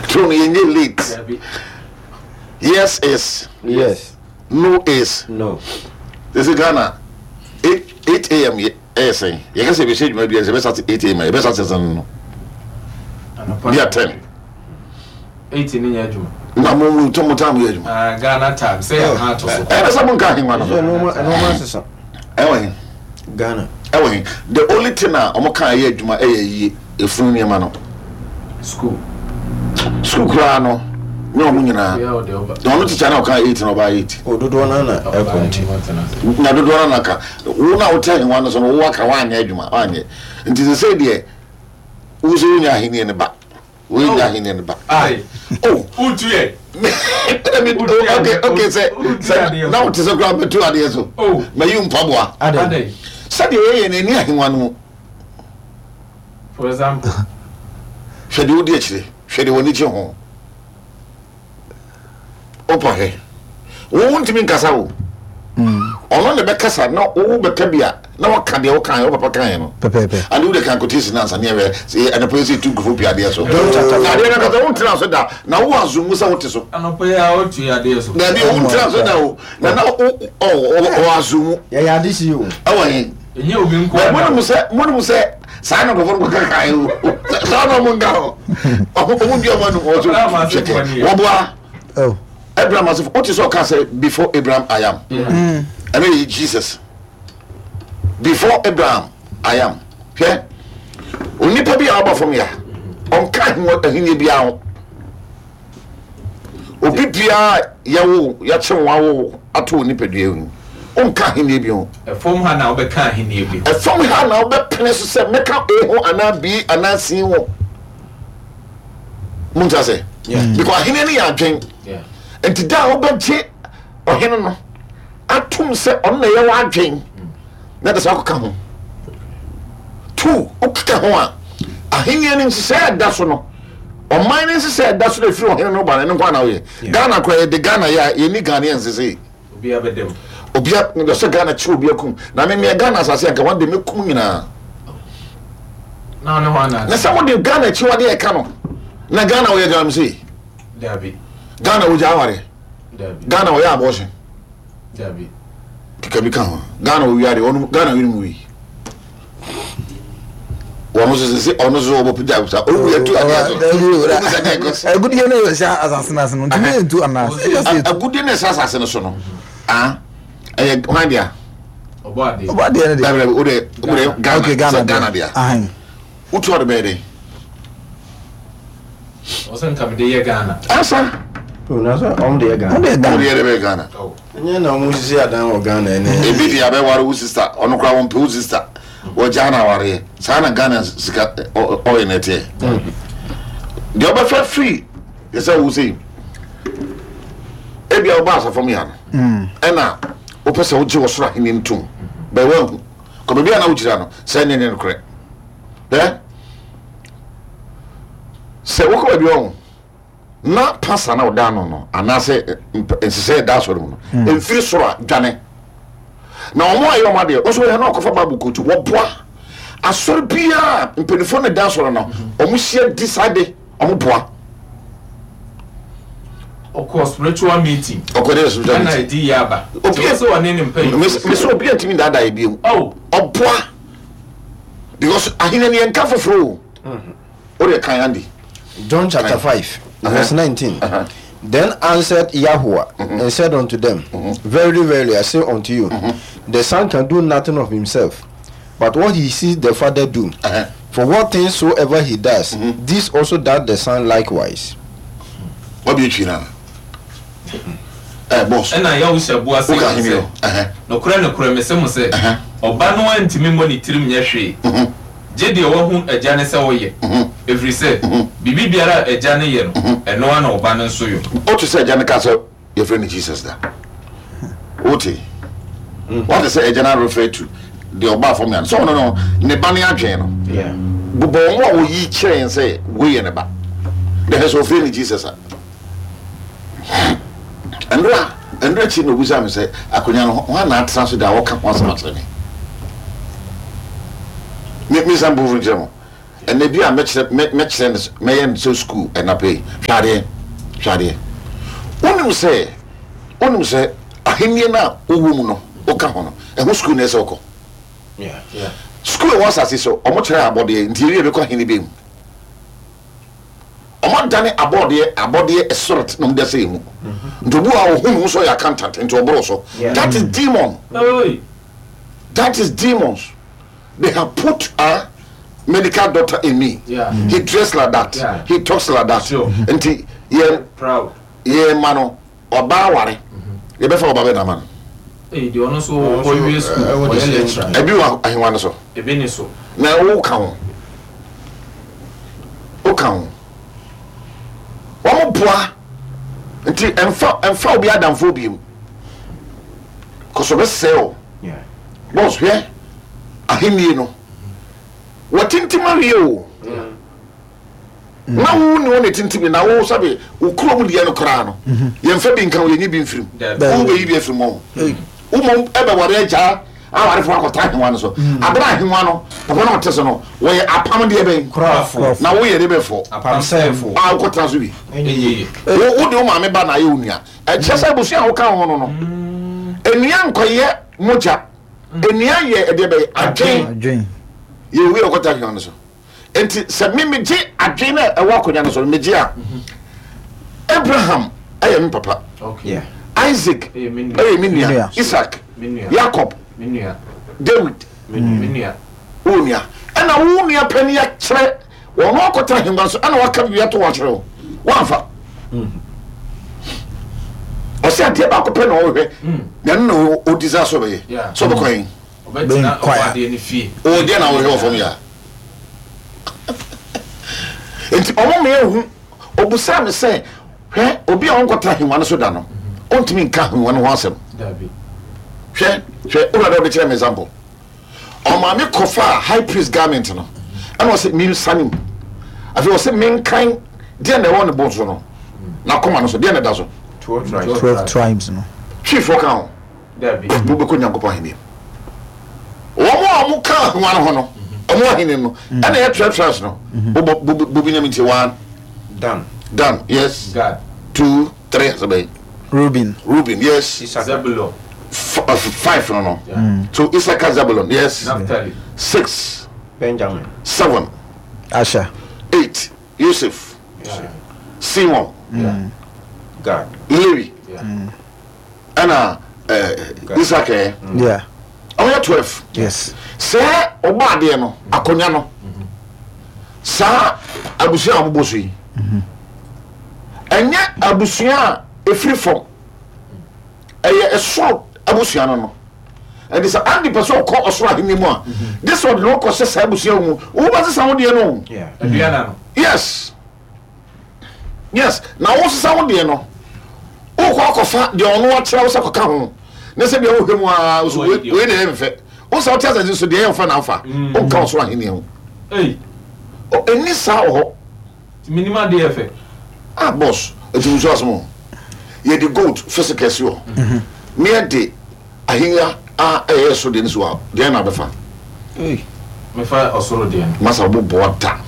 Throne yɛnyɛ late. Yes is. Yes. No is. No. Sisi Ghana 8 am ɛyɛ sɛn? Yɛka sɛ yɛbɛhyɛ adwuma bi a sɛ yɛbɛsate 8 am a yɛbɛsate sɛn no? Bi a 10. 8 ne nyɛ adwuma. Na mo mo mo time yɛ adwuma. Ah, Ghana time sɛ yɛ kan ato so. Ɛna sɛ mo nka ahengua no. Ɛnoma ɛnoma asesa. Ɛwɔ he? Ghana. Ɛwɔ he? The only thing a wɔn kan yɛ adwuma ɛyɛ yie efunu nneɛma no. School. School koraa no ne wɔn nyinaa. Na ɔno tikya na ɔka 8 na ɔbaa 8. O dodoɔ no na ɛkɔ nti. Na dodoɔ no na ka wo na wote ahengua no so no wo aka woanyɛ adwuma woanyɛ nti sɛ sɛ deɛ wo sɛ wonya ahenni no ba. Wei nyɛ ahenni no ba. Oh. Wotu yɛ. Ɛna mi okay okay sɛ sɛ na wote sɛ koraa mɛtu adeɛ so. Oh. Mayi mpaboa. Adɛn. Sɛdeɛ yɛyɛ no ɛni ahengua no mu. For example. Hwɛ deɛ wodi akyire. Hwɛ deɛ w'ani gye ho. Wopɔ hwɛ. Wo wontumi nkasa o. Ɔno na ɛbɛkasa na wo bɛka bi a na waka deɛ wokaeɛ wo papa kaeɛ no. Pɛpɛɛpɛ. Ade wode kan quotation ansa ne ɛwɛ sɛ anɔpa yi sɛ ɛtu nkurɔfoɔ pii adeɛ so. Na adeɛ no ankasa wontena so da na wo assume sɛ wote so. Anɔpa yi a wotu adeɛ so. Dabi wontena so da o. Na na wo ɔ assume. Yɛyɛ ade si o. Ɛwɔ he? Ɛnyɛ obi nko ara. Monim sɛ monim sɛ saa na nkurɔfoɔ no kɔka kae o. Saa na ɔmo nka o. Ɔmo dua ɔmo anum ɔso hwɛkɛ. Wɔboa. Oh. Abraham asefo wote sɛ ɔka sɛ before Abraham I am. Ɛno yɛ Jesus. Before Abraham I am. Hwɛ onipa bi a ɔba fam ya ɔnka ahenni biara ho. Obi biara yɛwo yɛkye wo awo ato wo nipadua mu wonka ahenni bi ho. Ɛfam ha na wobɛka ahenni bi ho. Ɛfam ha na wobɛpene so sɛ mɛka A ho anaa B anaa C ho. Mo nti ase? Because ahenni no yɛ adwen. Nti da a wobɛgye ɔhene no atom sɛ ɔno na ɛyɛ w'adwen na ɛde sɛ akɔka ho. Two, wokeka ho a, ahenni no nhyehyɛe a ɛda so no, ɔman no nhyehyɛe a ɛda so na ɛfiri ɔhene no ba no, ɛno nko na woyɛ. Ghana koraa yɛde Ghana yɛ a yɛnni Ghanaian sesei. Obiara bɛda mu. Obia sɛ Ghana kyerɛ obi akum na me meɛ Ghana asase anka wɔn de mɛkum nyinaa. Na ɔne hɔ Na sɛ wode Ghana akyiwade ɛka no na Ghana wɔyɛ galamsey. Dabi. Ghana wɔgya aware. Dabi. Ghana wɔyɛ abortion. Dabi. Keka bi ka ho. Ghana wɔwia de ɔno Ghana wiri mu wi. Wɔn nso sɛ ɔno nso wɔbɔ pagya sa owu yɛ tu adeɛ so. Agudie no yɛ sɛ asase no ase no ntumi yɛ ntu anaa Agudie no ɛsɛ asase no so no ah ɛyɛ hwan dea? Ɔbɔ adeɛ. Ɔbɔ adeɛ no deɛ. Dabi dabi o de o de Ghana Okay Ghana sɛ Ghana dea. Ahan. Wotu ɔde bɛyɛ dɛ. Ɔsɛ nka mede yɛ Ghana. Asa. O na sɛ ɔmo de yɛ Ghana. Ɔmo de yɛ Ɔmo Ghana. de yɛ de bɛyɛ Ghana. Ɛnyɛ na ɔmo sisi adan wɔ Ghana ɛnɛ. Ebi de abɛware wo sister ɔno koraa wɔmpɛ wo sister wɔgyaa no awareɛ saa na Ghana sika ɔyɛ no ɛteɛ deɛ ɔbɛfa firi yɛ sɛ wo sei ebia woba asafam ya no ɛna wopɛ sɛ wogye wɔ soro ahenni no tom bɛɛ woahu kɔ baabi a na wogyina no sɛ ɛnyɛ nyɛ nokorɛ ɛ sɛ wokɔ baabi ɔho na pasa na ɔda ano no anaasɛ nhyehyɛ ɛda asɔre mu no mfiri soro a dwane na wɔn a ɛyɛ wɔn adeɛ nso yɛ na ɔkɔfa bible kootu wɔboa asɔre biara mpanimfoɔ na ɛda asɔre no wɔn hyia di saa de wɔn boa. Ɔkɔ spiritual meeting. Ɔkɔ de spiritual meeting. Ɛna ɛdi yɛ aba. Obi sɛ ɔne ne mpanyinfoɔ. Mesi obi ntumi daadaa ebi mu. Ɔboa because ahenni ni yɛn nka foforɔ o. O de kan Andy. John chapter 5, verse 19. Then answered Yahuwah and said unto them, Verily, verily, I say unto you, the Son can do nothing of himself, but what he sees the Father do. For what things soever he does, this also does the Son likewise. Wabi etwi na. Eh, boss. Ɛnna Yahusha bua see Woka wɔn hene sɛ, o. Ɛhɛ. Nokorɛ, nokorɛ, mese mo sɛ, Ɔba no ara ntumi mmɔ ne tirim nyɛ hwee, gye deɛ wahu Agya no sɛ ɔyɛ, ɛfiri sɛ, biribi biara a Agya no yɛ no, ɛno ara na Ɔba no nso yɔ. Wote sɛ Agya no kaa sɛ yɛfrɛ no Jesus da? Wote? Woate sɛ Agya no refer to deɛ ɔbaa fam ya no? Sɛ ɔno no, ne ba no adwene no. Bobɔ wɔn a wɔyi kyerɛ yɛn sɛ wei yɛ ne ba. Na hwɛ sɛ ɔfrɛ no Jesus a. Ɛnora, ɛnora akyi na obisaa me sɛ, akonnwa no, hwan na atena so da a wɔka ho asɛm akyerɛ me? Me, me nsa mpofo nkyerɛ mo. Ɛnɛ bi a mɛkyerɛ mɛ mɛkyerɛ no mɛyɛ no sɛ sukuu ɛnapɛ yi. Hwɛ adeɛ, hwɛ adeɛ. Wonim sɛ, wonim sɛ ahennie no a wowɔ mu no, woka ho no, ɛho sukuu na ɛsɛ wokɔ. Sukuu ɛwɔ asase so, wɔn kyerɛ abɔdeɛ, nti yɛwie bɛkɔ ahennie bɛn mu. Wɔn adane abɔdeɛ abɔdeɛ spirit na wɔn de ahyɛ yɛn mu. Nti obi wɔ hɔ a ohun ne ho sɛ ɔyɛ accountant nti ɔboro so. That is demon. That is demons. They have put a medical doctor in me. Yeah. He dress like that. Yeah. He talks like that. Sure. Nti yɛ proud. Yɛ ma no ɔbaa ware. Yɛbɛfa ɔba bɛ na ama no. Ee deɛ ɔno nso ɔwie sukuu ɔyɛ lecturer. Ebi wɔ ahengua no so. Ebi ni so. Na wo ka ho. Wo ka ho. Wɔn boa nti ɛnfa ɛnfa obi adamfo bi mu. Kɔsɔ bɛ sɛ o. Boss hwɛ ahenni no. Wɔtintim awie o. Na wo ne wɔn na ɛtintim na wo sɛbe wo kurom deɛ no koraa no yɛmfa bi nka wo yɛnyi bi mfirim. Wo bɛyi bi afiri mu. Wo mmom ɛbɛware agyaa awarefo akɔta ahengua no so. Abere ahengua no papa na ɔte so no wɔyɛ apam deɛ bɛn na woyɛ de bɛfɔ a wokɔtena so bi. Wo de wo maame ba na ayɛ wo nua. Ɛkyerɛ sɛ abusua a woka ho no no, nnua nkɔyɛ mogya. Nnua yɛ ɛdeɛ bɛyɛ adwen. Yɛ owi a ɔkɔta ahengua no so. Nti sɛ me megye adwen na ɛwɔ akonnwa no so no megye a, Abraham ɛyɛ me papa. Isaac ɛyɛ me nua. Isaac, Jacob, David, wo nua. Ɛna wo nua panin akyerɛ Wɔn akɔtena ahengua so ɛna waka biribi ato hɔ akyerɛ wo. Woamfa. Ɔsɛ adeɛ baako pɛ na ɔhwɛ na ɛno na ɔdi saa sɛ ɔbɛyɛ. Sɛ ɔbɛkɔ yɛn. Ɔbɛtena ɔbɔadeɛ no fie. Ɔwɔ deɛ na ɔhwɛ wɔ fam yɛ a. Nti ɔmo ma ehu. Obusaa me sɛ, hwɛ obi a ɔnkɔtena ahengua no so da no, ɔntumi nka ahengua no ho asɛm. Hwɛ, hwɛ, wura dɛ ɔde kyerɛ me example. Ɔmaa me kɔfaa high priest garment no, ɛna ɔse mensane mu. Afei ɔse menkan deɛ na ɛwɔ ne bo so no, n'akoma no so, deɛ na ɛda so. 12 tribes no. Twifoɔ ka ho. Mobɛkɔ Nyankopɔn ahenni mu. Wɔn a wɔn ka ahoa no ho no, wɔn ahenni no, ɛna ɛyɛ 12 tribes no. Bobɔ bobi na mi nti one. Dan. Dan, yes. Gad. 2. 3 asɛ bɛn? Reuben. Reuben, yes. Zebulon. 5 no no. So Issachar, Zebulon, yes. Naphtali. 6. Benjamin. 7. Asher. 8. Yosef. Simon. Gad. Lewi. Ɛna Isaac ɛ. Yeah. Ɔyɛ 12. Yes. Sɛ ɔbɔ adeɛ no, akonnwa no, saa abusua a wɔbɔ so yi, ɛnyɛ abusua a ɛfiri fam, ɛyɛ ɛsoro abusua no no. Ɛnti sɛ Andy pɛ sɛ ɔkɔ ɔsoro ahenni mu a, gye sɛ ɔde ne ho kɔhyɛ saa abusua mu. Wobɛsesa wo deɛ no. Aduana no. Yes. Yes, na wosesa wo deɛ no, wokɔ akɔfa deɛ ɔno akyerɛ wo sɛ kɔka ho, ne sɛ deɛ wohwɛ mu ara, wo so wei na ɛyɛ mfɛ. Wo sɛ wote asase so deɛ ɛyɛ mfɛ na afa, mm. wonka ɔsoro ahenni ho. Ɛnni saa wɔ hɔ. Menim adeɛ fɛ. Ah, boss, ɛtumi nso asɛm o. Yɛde gold physical si hɔ. Mhm. Ne yɛde ahenni a ɛyɛ so deɛ no si hɔ a, deɛ na abɛfa. Mefa ɔsoro deɛ no. Masa wobɔboa da.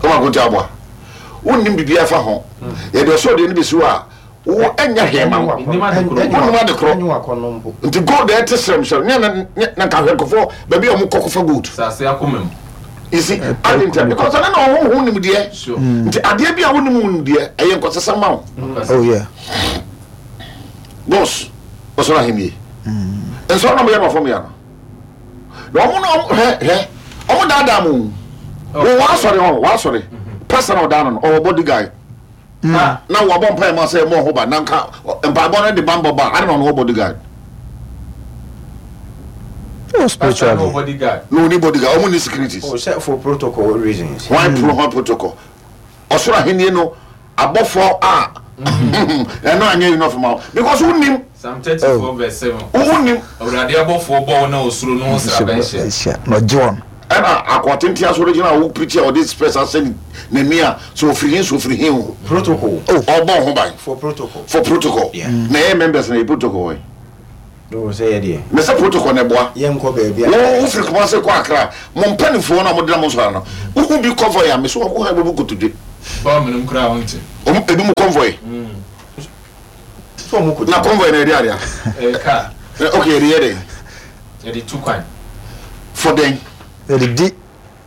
Kɔma akonti aboa. Wonnim biribiara fa ho. Yɛde ɔsoro deɛ no bɛsi hɔ a, wo ɛnyɛ hwee ma wo. Mennim ade korɔ. Wonnim ade korɔ. Nti gold a ɛte srɛmsrɛm ne na na nka hwɛ nkurɔfoɔ baabi a wɔkɔ kɔfa gold. Asase akoma mu. You see, ade nti because ɛno na ɔho ho nimdeɛ. Nti adeɛ bi a wonim ho nimdeɛ ɛyɛ nkɔsesa ma wo. Oh yeah. Boss, ɔsoro ahennie. Nsɔre na wɔyɛ no wɔ fam yɛ no. Na wɔn na wɔn hwɛ hwɛ wɔn daadaa mu. Wɔ wɔn asɔre hɔ wɔn asɔre. Pastor na ɔdaa no no ɔwɔ body guy. Na wɔabɔ mpae ma sɛ ɛmɔ ho ba na nka mpaebɔ no de bambɔ ba ade na ɔno wɔ body guard. Oh, spiritually. No, oni bodyguard. Ɔmo ni securities. Oh, sɛ for protocol reasons. Why pro hwan protocol? Ɔsoro ahenni no abɔfoɔ a ɛno anyɛ enough ma wo because wonim. Psalm 34 verse 7. Wonim. Awurade abɔfoɔ bɔ wɔn a wɔsuro no ho sraban hyia. Na ɔgye wɔn. Ɛna akoa tenten asɔre gyina a wo preach a ɔde spɛs ahyɛ n'ani a sɛ ɔfiri he sɛ ɔfiri he o. Protocol. Ɔbɔ ho ban. For protocol. For protocol. Yeah. Na ɛyɛ members na yɛ protocol wɔ he. Mese protocol na ɛboa. Wo wofiri Kumasi kɔ Accra, mo mpanimfoɔ no a wɔde nam nsɔre no, wohu bi convoy a, mese wɔn kɔ bɛbu nkotodwe. Wɔn ebi mu convoy. Na convoy na yɛde adea. Ok, yɛde yɛ dɛn? Yɛde tu kwan. For dɛn? Yɛde di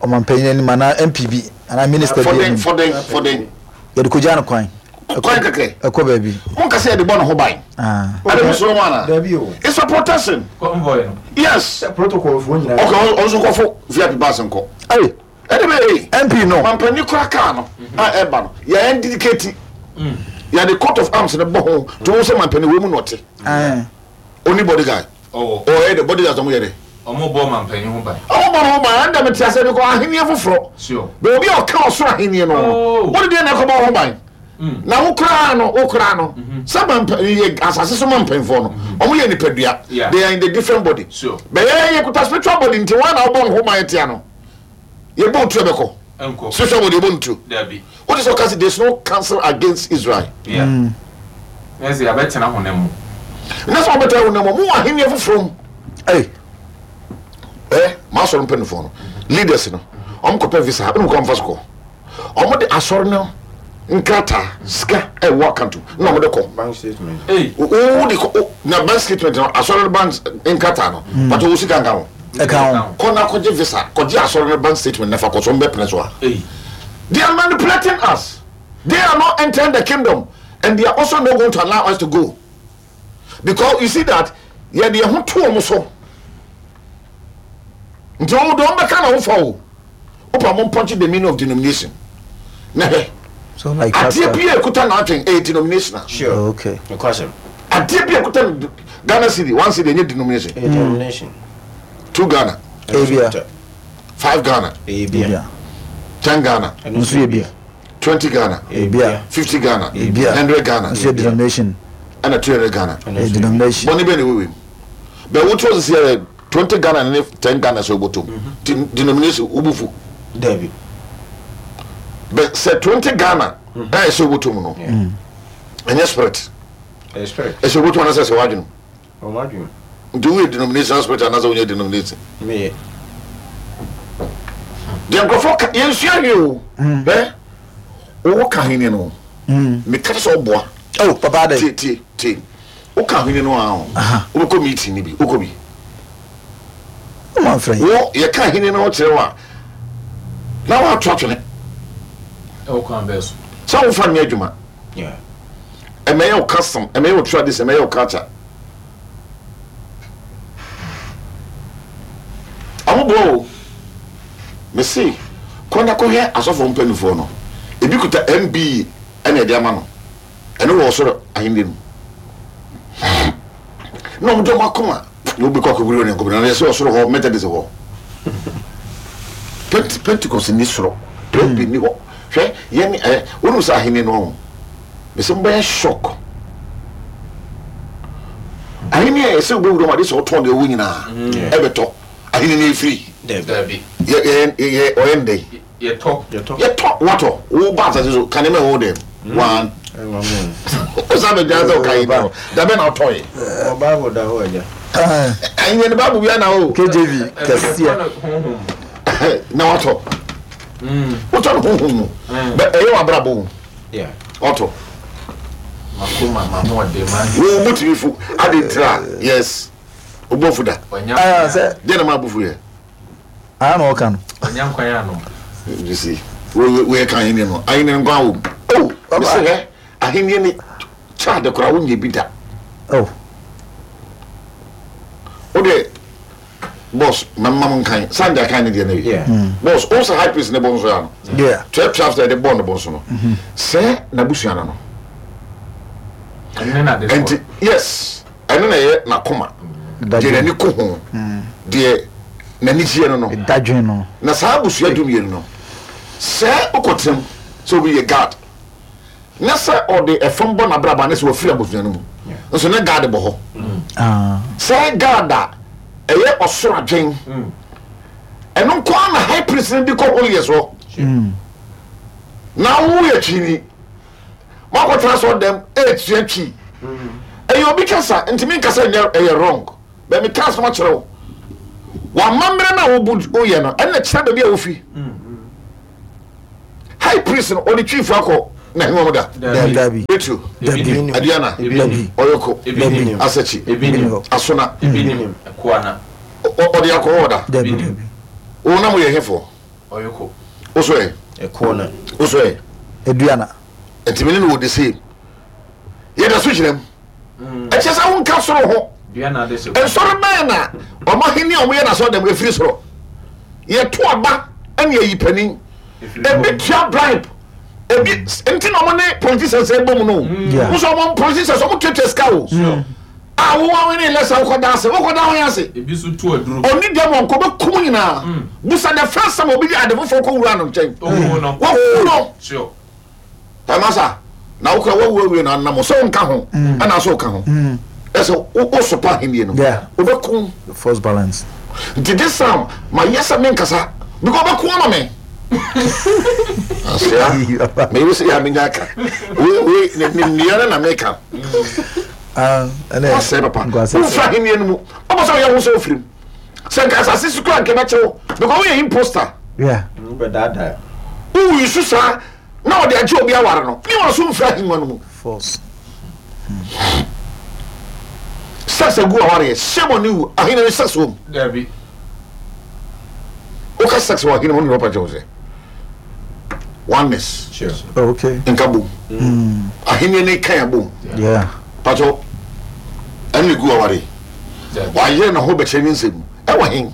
ɔmanpanyin anim anaa MP bi anaa minister bi anim. For dɛn? For dɛn? Yɛde kogya no kwan. Kwan kɛkɛ. Ɛkɔ baabi. Mo nka sɛ yɛde bɔ ne ho ban. Ade mo soro mu ana? Dabi o. It's a protection. Convoy no. Yes. Protocol fo nyinaa. Okay, ɔnso kɔfo VIP bus nkɔ. Ɛy. Ɛde bɛ yɛ. MP no. Mampanin kura kaa no a ɛba no yɛ indicate. Yɛde coat of arms no bɔ ho to wɔn sɛ mampanin wɔ mu na ɔte. Oni bodyguard. Ɔwɔ. Ɔyɛ de bodyguard ɔmo yɛ de. Ɔmo bɔ ɔmampanyin ho ban. Ɔmo bɔ ne ho ban ɛnda mete ase because ahenni foforɔ. Sure. Bɛ obi a ɔka ɔsoro ahenni no no. Oh. Wode deɛ na ɛkɔbɔ ho ban. Mm. Na wo koraa no wo koraa no. Sɛ mampa yɛ asase so mampanyinfoɔ no. Ɔmo yɛ nipadua. Yeah. They are in the different body. Sure. Bɛ yɛ yɛ kuta spiritual body nti wɔn na ɔbɔ ne ho ban tia no. Yɛ bɔ otu ɛbɛkɔ. Ɛnkɔ. Spiritual body yɛ bɔ ntu. Dabi. What is ɔka sɛ there is no counsel against Israel. Yeah. Ɛsɛ yɛabɛtena honam mu. Na sɛ ɔbɛtena honam mu, mo wɔ ahenni foforɔ mu. Hey. Eh, maa asɔre mpanimfoɔ no, leaders no, wɔn kɔpɛ visa, ɛna wɔn kɔ nfa so kɔ. Wɔn de asɔre no nkrataa, sika ɛwɔ account na wɔn de kɔ. Bank statement. Hey. Wo de kɔ, na bank statement no, asɔre no bank nkrataa no, but wo sika nka ho. Ɛka ho. Kɔ na kɔgye visa, kɔgye asɔre no bank statement na fa kɔ so, wɔn bɛ pene so a. Hey. They are manipulating us. They are not entering the kingdom and they are also not going to allow us to go. Because you see that yɛde yɛn ho to wɔn so. Nti wɔn de wɔn bɛka na wɔfa o. Wopa mo mpɔnkye the meaning of denomination. Na hwɛ. So like Adeɛ bi a ekuta n'atwɛn ɛyɛ denominational. Sure. Oh, okay. Nokwasɛm. Adeɛ bi a ekuta no Ghana cedi one cedi ɛnyɛ denomination. Ɛyɛ denomination. Two Ghana. Ebia. Five Ghana. Ebia. 10 Ghana. Nso yɛ bi. 20 Ghana. Ebia. 50 Ghana. Ebia. 100 Ghana. Nso yɛ denomination. Ɛna 200 Ghana. Ɛyɛ denomination. Bɔne bɛn na ɛwɔ wei mu? Bɛ wotu ɔsisi yɛ 20 Ghana ne 10 Ghana sɛ wobɔtɔ mu. Ti denomination wobufu. Dabi. Bɛ sɛ 20 Ghana ɛyɛ sɛ wobɔtɔ mu no. Ɛnyɛ spirit. Ɛyɛ spirit. Ɛsɛ wobɔtɔ mu anasɛ sɛ wadwene mu. Ɔmo adwene. Nti woyɛ denomination spirit anaasɛ wonyɛ denomination? Meyɛ. Deɛ nkurɔfoɔ ka yɛnsua hwee o. Hwɛ wowɔ ka ahenni no ho. Meka kyerɛ sɛ ɔboa. Oh papa adɛ. Tie tie tie. Woka ahenni no a o. Wobɛkɔ meeting no bi. Wokɔ bi. Woma mfrɛ. Wo yɛka ahenni no ho kyerɛ wo a na woato atwene. Ɛwɔ kwan bɛɛ so. Sɛ womfa nyɛ adwuma. Ɛmɛyɛ wo custom, ɛmɛyɛ wo tradition, ɛmɛyɛ wo culture. Ɔmo boa o. Mese kɔ na kɔhwɛ asɔfoɔ mpanimfoɔ no, ebi kuta MBE ɛna ɛde ama no, ɛno wɔ ɔsoro ahenni no mu. Na ɔmo de ɔmo akoma na obi kɔ akɔbiri Onyankopɔn na yɛsɛ ɔsoro hɔ Methodist hɔ. Pent Pentecost ni soro, Presby ni hɔ. Hwɛ yɛn ɛ wonim sɛ ahenni no ɔho. Mese mobɛyɛ shock. Ahenni a ɛsɛ wobɛwura mu ade sɛ wotɔn deɛ wowɔ nyinaa ɛbɛtɔ ahenni no ɛfiri. Dabi. Yɛ yɛ yɛ ɔyɛ no dɛn? Yɛtɔ. Yɛtɔ watɔ wo ba asase so ka nneɛma ɛwɔ wo dɛm. One. Wosan bɛgya sɛ woka ahenni no dabɛ na wotɔe. Wɔ Bible da hɔ agya. Ahenni no Bible bia na o. KJV kɛseɛ. Na watɔ. Wotɔ no honhom mu. Bɛ ɛyɛ w'abrabɔ mu. Ɔtɔ. Wo bo tumi fu ade ntira yes. Wo bo fu da. Deɛ na ma bo fu yɛ. Aa na ɔka no. You see, wo yɛ ka ahenni no, ahenni no nkwa wɔ mu. Oh, baba. Mesɛ hɛ, ahenni ni kyɛ ade koraa wonyɛ bi da. Oh. Wo de boss mɛma mo nkan sande akan ne deɛ no awie boss wo sɛ high priest ne bɔ nso ya no 12 tribes na yɛde bɔɔ ne bɔ nso no sɛ n'abusua no no nti yes ɛno na ɛyɛ n'akoma deɛ n'ani ko ho deɛ n'ani gyeɛ no no na saa abusua dumienu no sɛ wokɔtenam sɛ obi yɛ guard Na sɛ ɔde ɛfam bɔ n'abrabɔ a, na sɛ wafiri abusua no mu. Nso na Gad bɔ hɔ. Sɛ Gad a, ɛyɛ ɔsoro adwen. Ɛno nko ara na high priest no de kɔ holiest hɔ. Na woyɛ twini. Moakɔtena asɔre dɛm ɛretua twi. Ɛyɛ obi kasa, ntumi nkasa nyɛ ɛyɛ wrong. Bɛ meka asɛm akyerɛ wo. W'amammerɛ no a wobu woyɛ no, ɛna kyerɛ baabi a wofi. High priest no, ɔde twiifo akɔ n'ahengua mu da? Dabi. Petro, Dabi. Aduana, Dabi. Ɔyɔko, Dabi. Asakyi, Asona, ɔde akɔ hɔ da? Dabi, dabi. Wo na moyɛ hefoɔ? Wo so ɛ? Wo so ɛ? Aduana. Nti me ne no wɔ the same. Yɛda so gyina mu. Ɛkyɛ sɛ wonka soro ho. Nsɔre bɛn na wɔn ahenni a wɔyɛ n'asɔre dɛm efiri soro? Yɛto aba ɛne ayi panin. Ebi tua bribe. Ebi nti na wɔn ne politicians ɛbɔ mu no. Wosɔ wɔn politicians wɔn tuatua sika o. A wo wɔn ne lɛsɛ wokɔ da ase wokɔ da wɔn ase. Ebi so tu aduro. Ɔni dɛm wɔn kɔ bɛ kum nyinaa. Busa the first time obi de ade foforɔ kɔ wura no nkyɛn. Wɔku no. Sure. Amasa, na wo kora woawu awie na anam sɛ wonka ho ɛna sɛ woka ho ɛsɛ wosopa ahenni no wobɛko First balance. Nti this time ma yɛ sɛ menkasa because wobɛko ama me asea meyere sɛ yɛ a menya aka wei ne nnua no na meka wasɛe papa womfiri ahenni no mu wobɔ sɛ woyɛ ho sɛ wofirim sɛ nka asase so kora nka ɛbɛkyɛ wo because woyɛ imposter wowu so saa na ɔde agye obi aware no ne wɔn so mfiri ahengua no mu. False. Sex agu awareɛ shame on you ahene no sex wɔ mu. Dabi. Woka sex wɔ ahene mu ne rɔpa kyɛw sɛ oneness. Sure. Oh, okay. Nka bom. Ahene ne kan abom. Yeah. Pato ɛne gu awareɛ. Wayɛ ne ho bɛkyerɛ ne nsɛm ɛwɔ hen.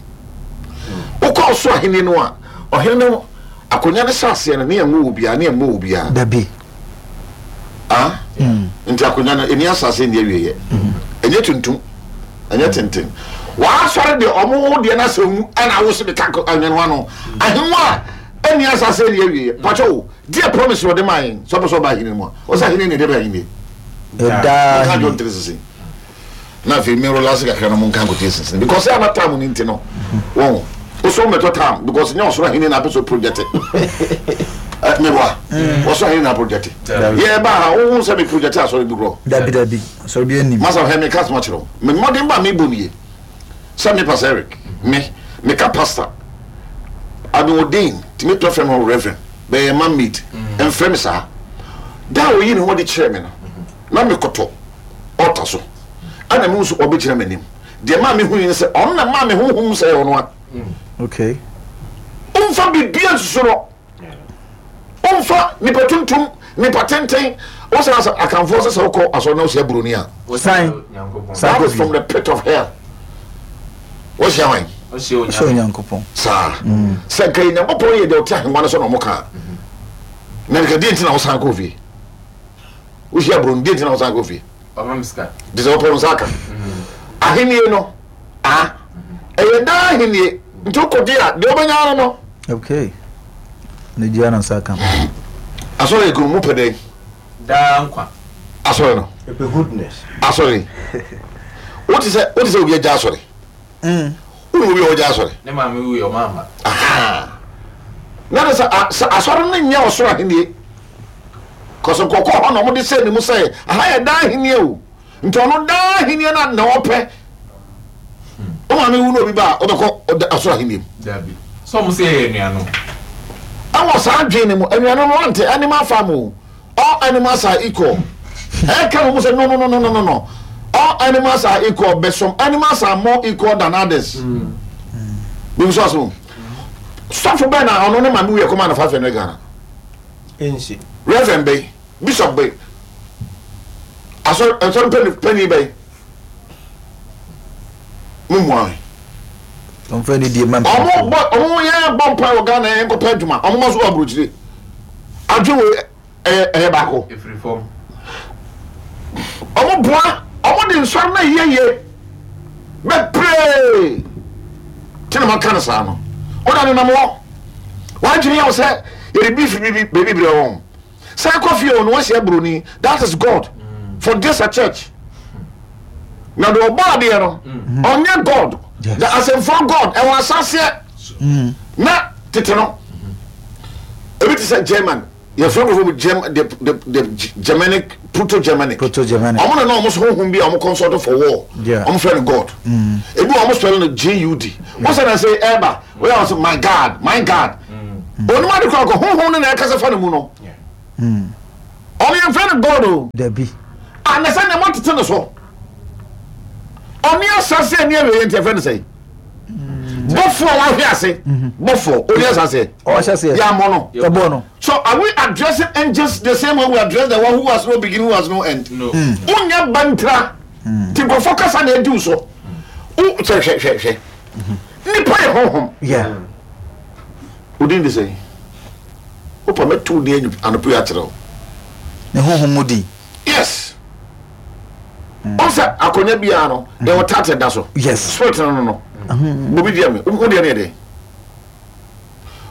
Wokɔ ɔso ahene no a ɔhene no Akonnwa no hyɛ aseɛ no, ne yɛnwo obiara, ne yɛmmɔ obiara. Dabi. Ah? Nti akonnwa no, ɛni asase ɛni awieɛ. Ɛnyɛ tuntum, ɛnyɛ tenten. W'asɔre deɛ, ɔmo wo deɛ no asɛ mu, ɛna wo se de ka ahengua no ano. Ahengua a ɛni asase ɛni awieɛ. Pakyɛ o, deɛ promise na ɔde maa yɛn, sɛ ɔpɛ sɛ ɔba ahene no mu a, ɔsɛ ahene ne deɛ bɛ ahene. Ɛdaa. Monka dwom tere sese. Na afei me relax kakra na monka nkotie sese because sɛ ama time no nti no wɔn wosɔ mɛtɔ time because nyɛ ɔsoro ahene na apɛ sɛ project meboa ɔsoro ahene na project yɛ ba ha wohu sɛ me project asɔre bi korɔ. Dabi dabi asɔre bi anim. Masa hwɛ me ka asɛm akyerɛ wo me mmɔden ba mebɔ nie sɛ me pastor Eric me meka pastor I've been ordained tumi tɔ frɛ me reverend bɛyɛ man made mfrɛ me saa da a oyi ne ho adi kyerɛ me no na mekɔtɔ altar so ɛna mehu sɛ ɔbɛgyina m'anim deɛ maa mehu ne sɛ ɔno na maa me honhom sɛ ɛyɛ ɔno a. Okay. Ɔmfa biribiara nsusu no. Ɔmfa nipa tuntum, nipa tenten. Wosan sɛ akanfoɔ sɛ sɛ wokɔ asɔre na wohyia buroni a. San. That is from the pit of hell. Wohyia hwan? Wohyia Onyankopɔn. Saa. Sɛ nka yɛ Nyankopɔn yɛ deɛ ɔte ahengua no so na ɔmo ka. Na nka deɛ nti na wosan kɔ fie? Wohyia buroni deɛ nti na wosan kɔ fie? Ɔma me sika. Gye sɛ wopɛ wo nsa aka. Ahennie no, ah, ɛyɛ daa ahennie. Nti wokɔgye a, deɛ wobɛnya ara no. Okay. Ne gye ara nsa aka. Asɔre ekunu mo pɛ dɛn? Daa nkwa. Asɔre no. Ɛpɛ goodness. Asɔre. Wote sɛ wote sɛ obi agya asɔre. Wone obi a ɔgya asɔre. Ne maame wui ɔma ama. Aha. Na de sɛ sɛ asɔre no nyɛ ɔsoro ahennie. Kɔsɛ nkɔkɔ hɔ na wɔde hyɛ ne mu sɛ aha yɛ daa ahenni o. Nti ɔno daa ahenni na na ɔpɛ. Wo maame wu na obi ba a wobɛkɔ ɔsoro ahenni mu. Dabi. Sɛ wɔn sɛ yɛyɛ anuanom. Ɛwɔ saa adwene no mu anuanom no ante animal farm o. All animals are equal. Ɛka no mu sɛ no no no no no no. All animals are equal but some animals are more equal than others. Bibi so aso. Sɔfo bɛn na ɔno ne maame wu yɛ kɔma no 500 Ghana. Nsi. Reverend bɛn, bishop bɛn, asɔre nsɔre panyin panyin bɛn. Mo mua me. Ɔmfa ne die ma Ɔmo bɔ ɔmo yɛn bɔ mpa wɔ Ghana yɛn kɔpɛ adwuma. Ɔmo ma so wɔ aburokyire. Adwe wo ɛyɛ ɛyɛ baako. Efiri fam. Ɔmo boa ɔmo de nsɔre na yie yie bebree. Ti na ma ka no saa no. Ɔda ne nam hɔ. W'adwene yɛ wo sɛ yɛde beef bi bi baabi brɛ wɔn. San kɔ fie o na wɔahyia buroni. That is God for this a church. Na deɛ ɔbɔ adeɛ no ɔnyɛ God. The asɛmfua God ɛwɔ asaseɛ na tete no. Ebi te sɛ German yɛfrɛ nkurɔfoɔ bi German the the the Germanic. Proto Germanic. Proto Germanic. Ɔmo na na ɔmo so honhom bi a ɔmo consult for war. Yeah. Ɔmo frɛ no God. Ebi wɔ ɔmo spell no G U D. Wọ́n sɛ na sɛ ɛɛba wọ́n yà wọ́n sɛ my God my God. Onim ade kora kɔ honhom no na ɛkasa fa ne mu no. Ɔmo yɛn frɛ no God o. Dabi. Ah na sɛ nea mo tete no so. Ɔne asase ani awieɛ nti ɛfrɛ no sɛ. Bɔfoɔ a wahwe ase. Bɔfoɔ ɔne asase. Ɔhyɛ aseɛ. Yɛ amɔ no. Yɛbɔ no. So are we addressing angels the same way we address the one who has no beginning, who has no end? No. Wonya bantra. Ti nkurɔfoɔ kasa na adi wo so. Wo hwɛ hwɛ hwɛ hwɛ. Nipa yɛ honhom. Yeah. Odin de sɛn? Wopa mɛto wo din anɔpa yi akyerɛ wo. Ne honhom mu din. Yes. Ɔn sɛ akonnwa biara no, yɛwɔ title da so. Yes. Spirit no no no. Bobi deɛ me, wo deɛ no yɛ dɛn?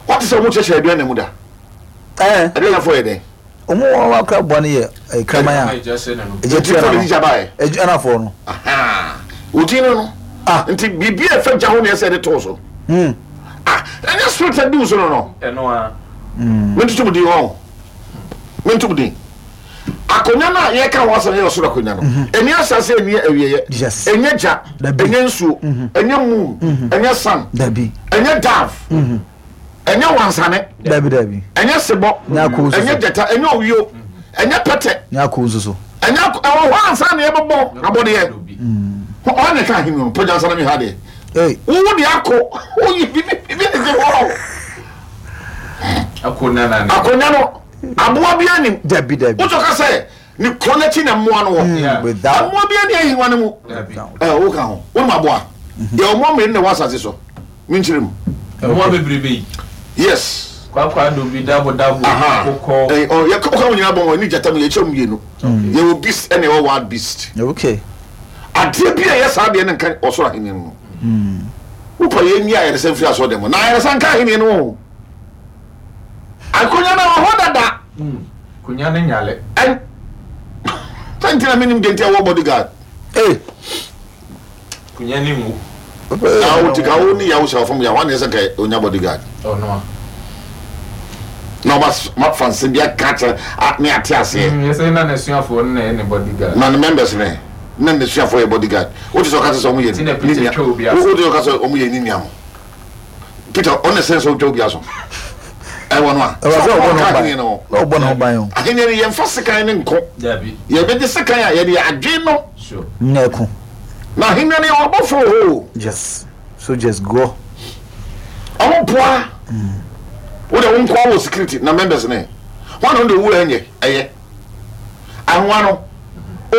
Wate sɛ wɔn kyerɛkyerɛ aduan na mu da? Ɛɛ. Aduan afɔ yɛ dɛn? Wɔn wɔn wakora bɔ no yɛ kraman a. Ɛgya hyɛ n'anum. Ɛgya tua Nti n'ano. ɛgya baeɛ. Ɛgya anafoɔ no. Odin no no. Ah. Nti biribi a ɛfɛ gya ho na ɛsɛ de too so. Ah, ɛnyɛ spirit a di wo so no no. Ɛno a. Mentutu mu din hɔ. Mentu mu din. Akonnwa no a yɛka ho asɛm yɛ ɔsoro akonnwa no. Ɛni asase ɛni awieɛ. Yes. Ɛnyɛ gya. Dabi. Ɛnyɛ nsuo. Ɛnyɛ moon. Ɛnyɛ sun. Dabi. Ɛnyɛ dove. Ɛnyɛ wansane. Dabi dabi. Ɛnyɛ sebɔ. Nyɛ akoo nso so. Ɛnyɛ gyata. Ɛnyɛ owio. Ɛnyɛ pɛtɛ. Nyɛ akoo nso so. Ɛnyɛ ɛwɔ hɔ ansa na yɛbɛbɔ abɔdeɛ. Ɔne ne ka ahemi no pagya nsa na mehwɛ adeɛ. Hey. Wo de akɔ woyi bibi bibi ne se hɔ. Akonnwa na ne. Akonnwa no aboa bi anim. Dabi dabi. Wotɔ ka sɛ ne kuro n'akyi na mmoa no wɔ. Yeah. Without. Mmoa bi ani ahengua no mu. Dabi. Ɛ wo ka ho. Wonim aboa. Yɛ mmoa mmienu na ɛwɔ asase so. Menkyerɛ mu. Mmoa bebrebe yi. Yes. Kwakwa dobi dabo dabo Aha. akokɔ. Ɛ ɔ yɛ ka wo nyinaa bɔ wɔn ani gyata mu yɛkyerɛ mu mmienu. Yɛwɔ beast ɛna ɛwɔ wild beast. Okay. Adeɛ bi a ɛyɛ saa deɛ no nka ɔsoro ahenni no mu. Wopɛ yɛn nyi ayaresa mfiri asɔre dɛm na ayaresa nka ahenni no ho. Akonnwa no wɔ hɔ dada. Akonnwa no nyale. Ɛn sɛ nti na menim deɛ nti a wɔ bodyguard. Hey. Akonnwa no nwu. Na wo ti ka wo ne yawo hyɛ fam yɛ hɔ ne sɛ nka onya bodyguard. Ɔno a. Na ɔba ma fa nsɛm bi aka kyerɛ ne ate aseɛ. Yɛ sɛ na n'asuafoɔ no na ɛyɛ ne bodyguard. Na ne members ne na n'asuafoɔ yɛ bodyguard. Wote sɛ ɔka sɛ ɔmo yɛ ne nua. Wote sɛ ɔka sɛ ɔmo yɛ ne nua mo. Peter ɔne sɛ sɛ ɔtwa obi aso. Ɛwɔ no a. Ɛwɔ sɛ ɔbɔ ne ho ban. Ahenni no. Ɔbɔ ne ho ban o. Ahenni no yɛmfa sekan ne nko. Dabi. Yɛbɛgye sekan a yɛde adwen no. Sure. Nyɛ ɛko. Na ahenni no yɛ ɔbɔfo o. Yes. Soldiers go. Ɔmo boa. Wo de wo nkoa wɔ security na members ne. Wɔn na wɔn de owura nyɛ ɛyɛ. Ahengua no,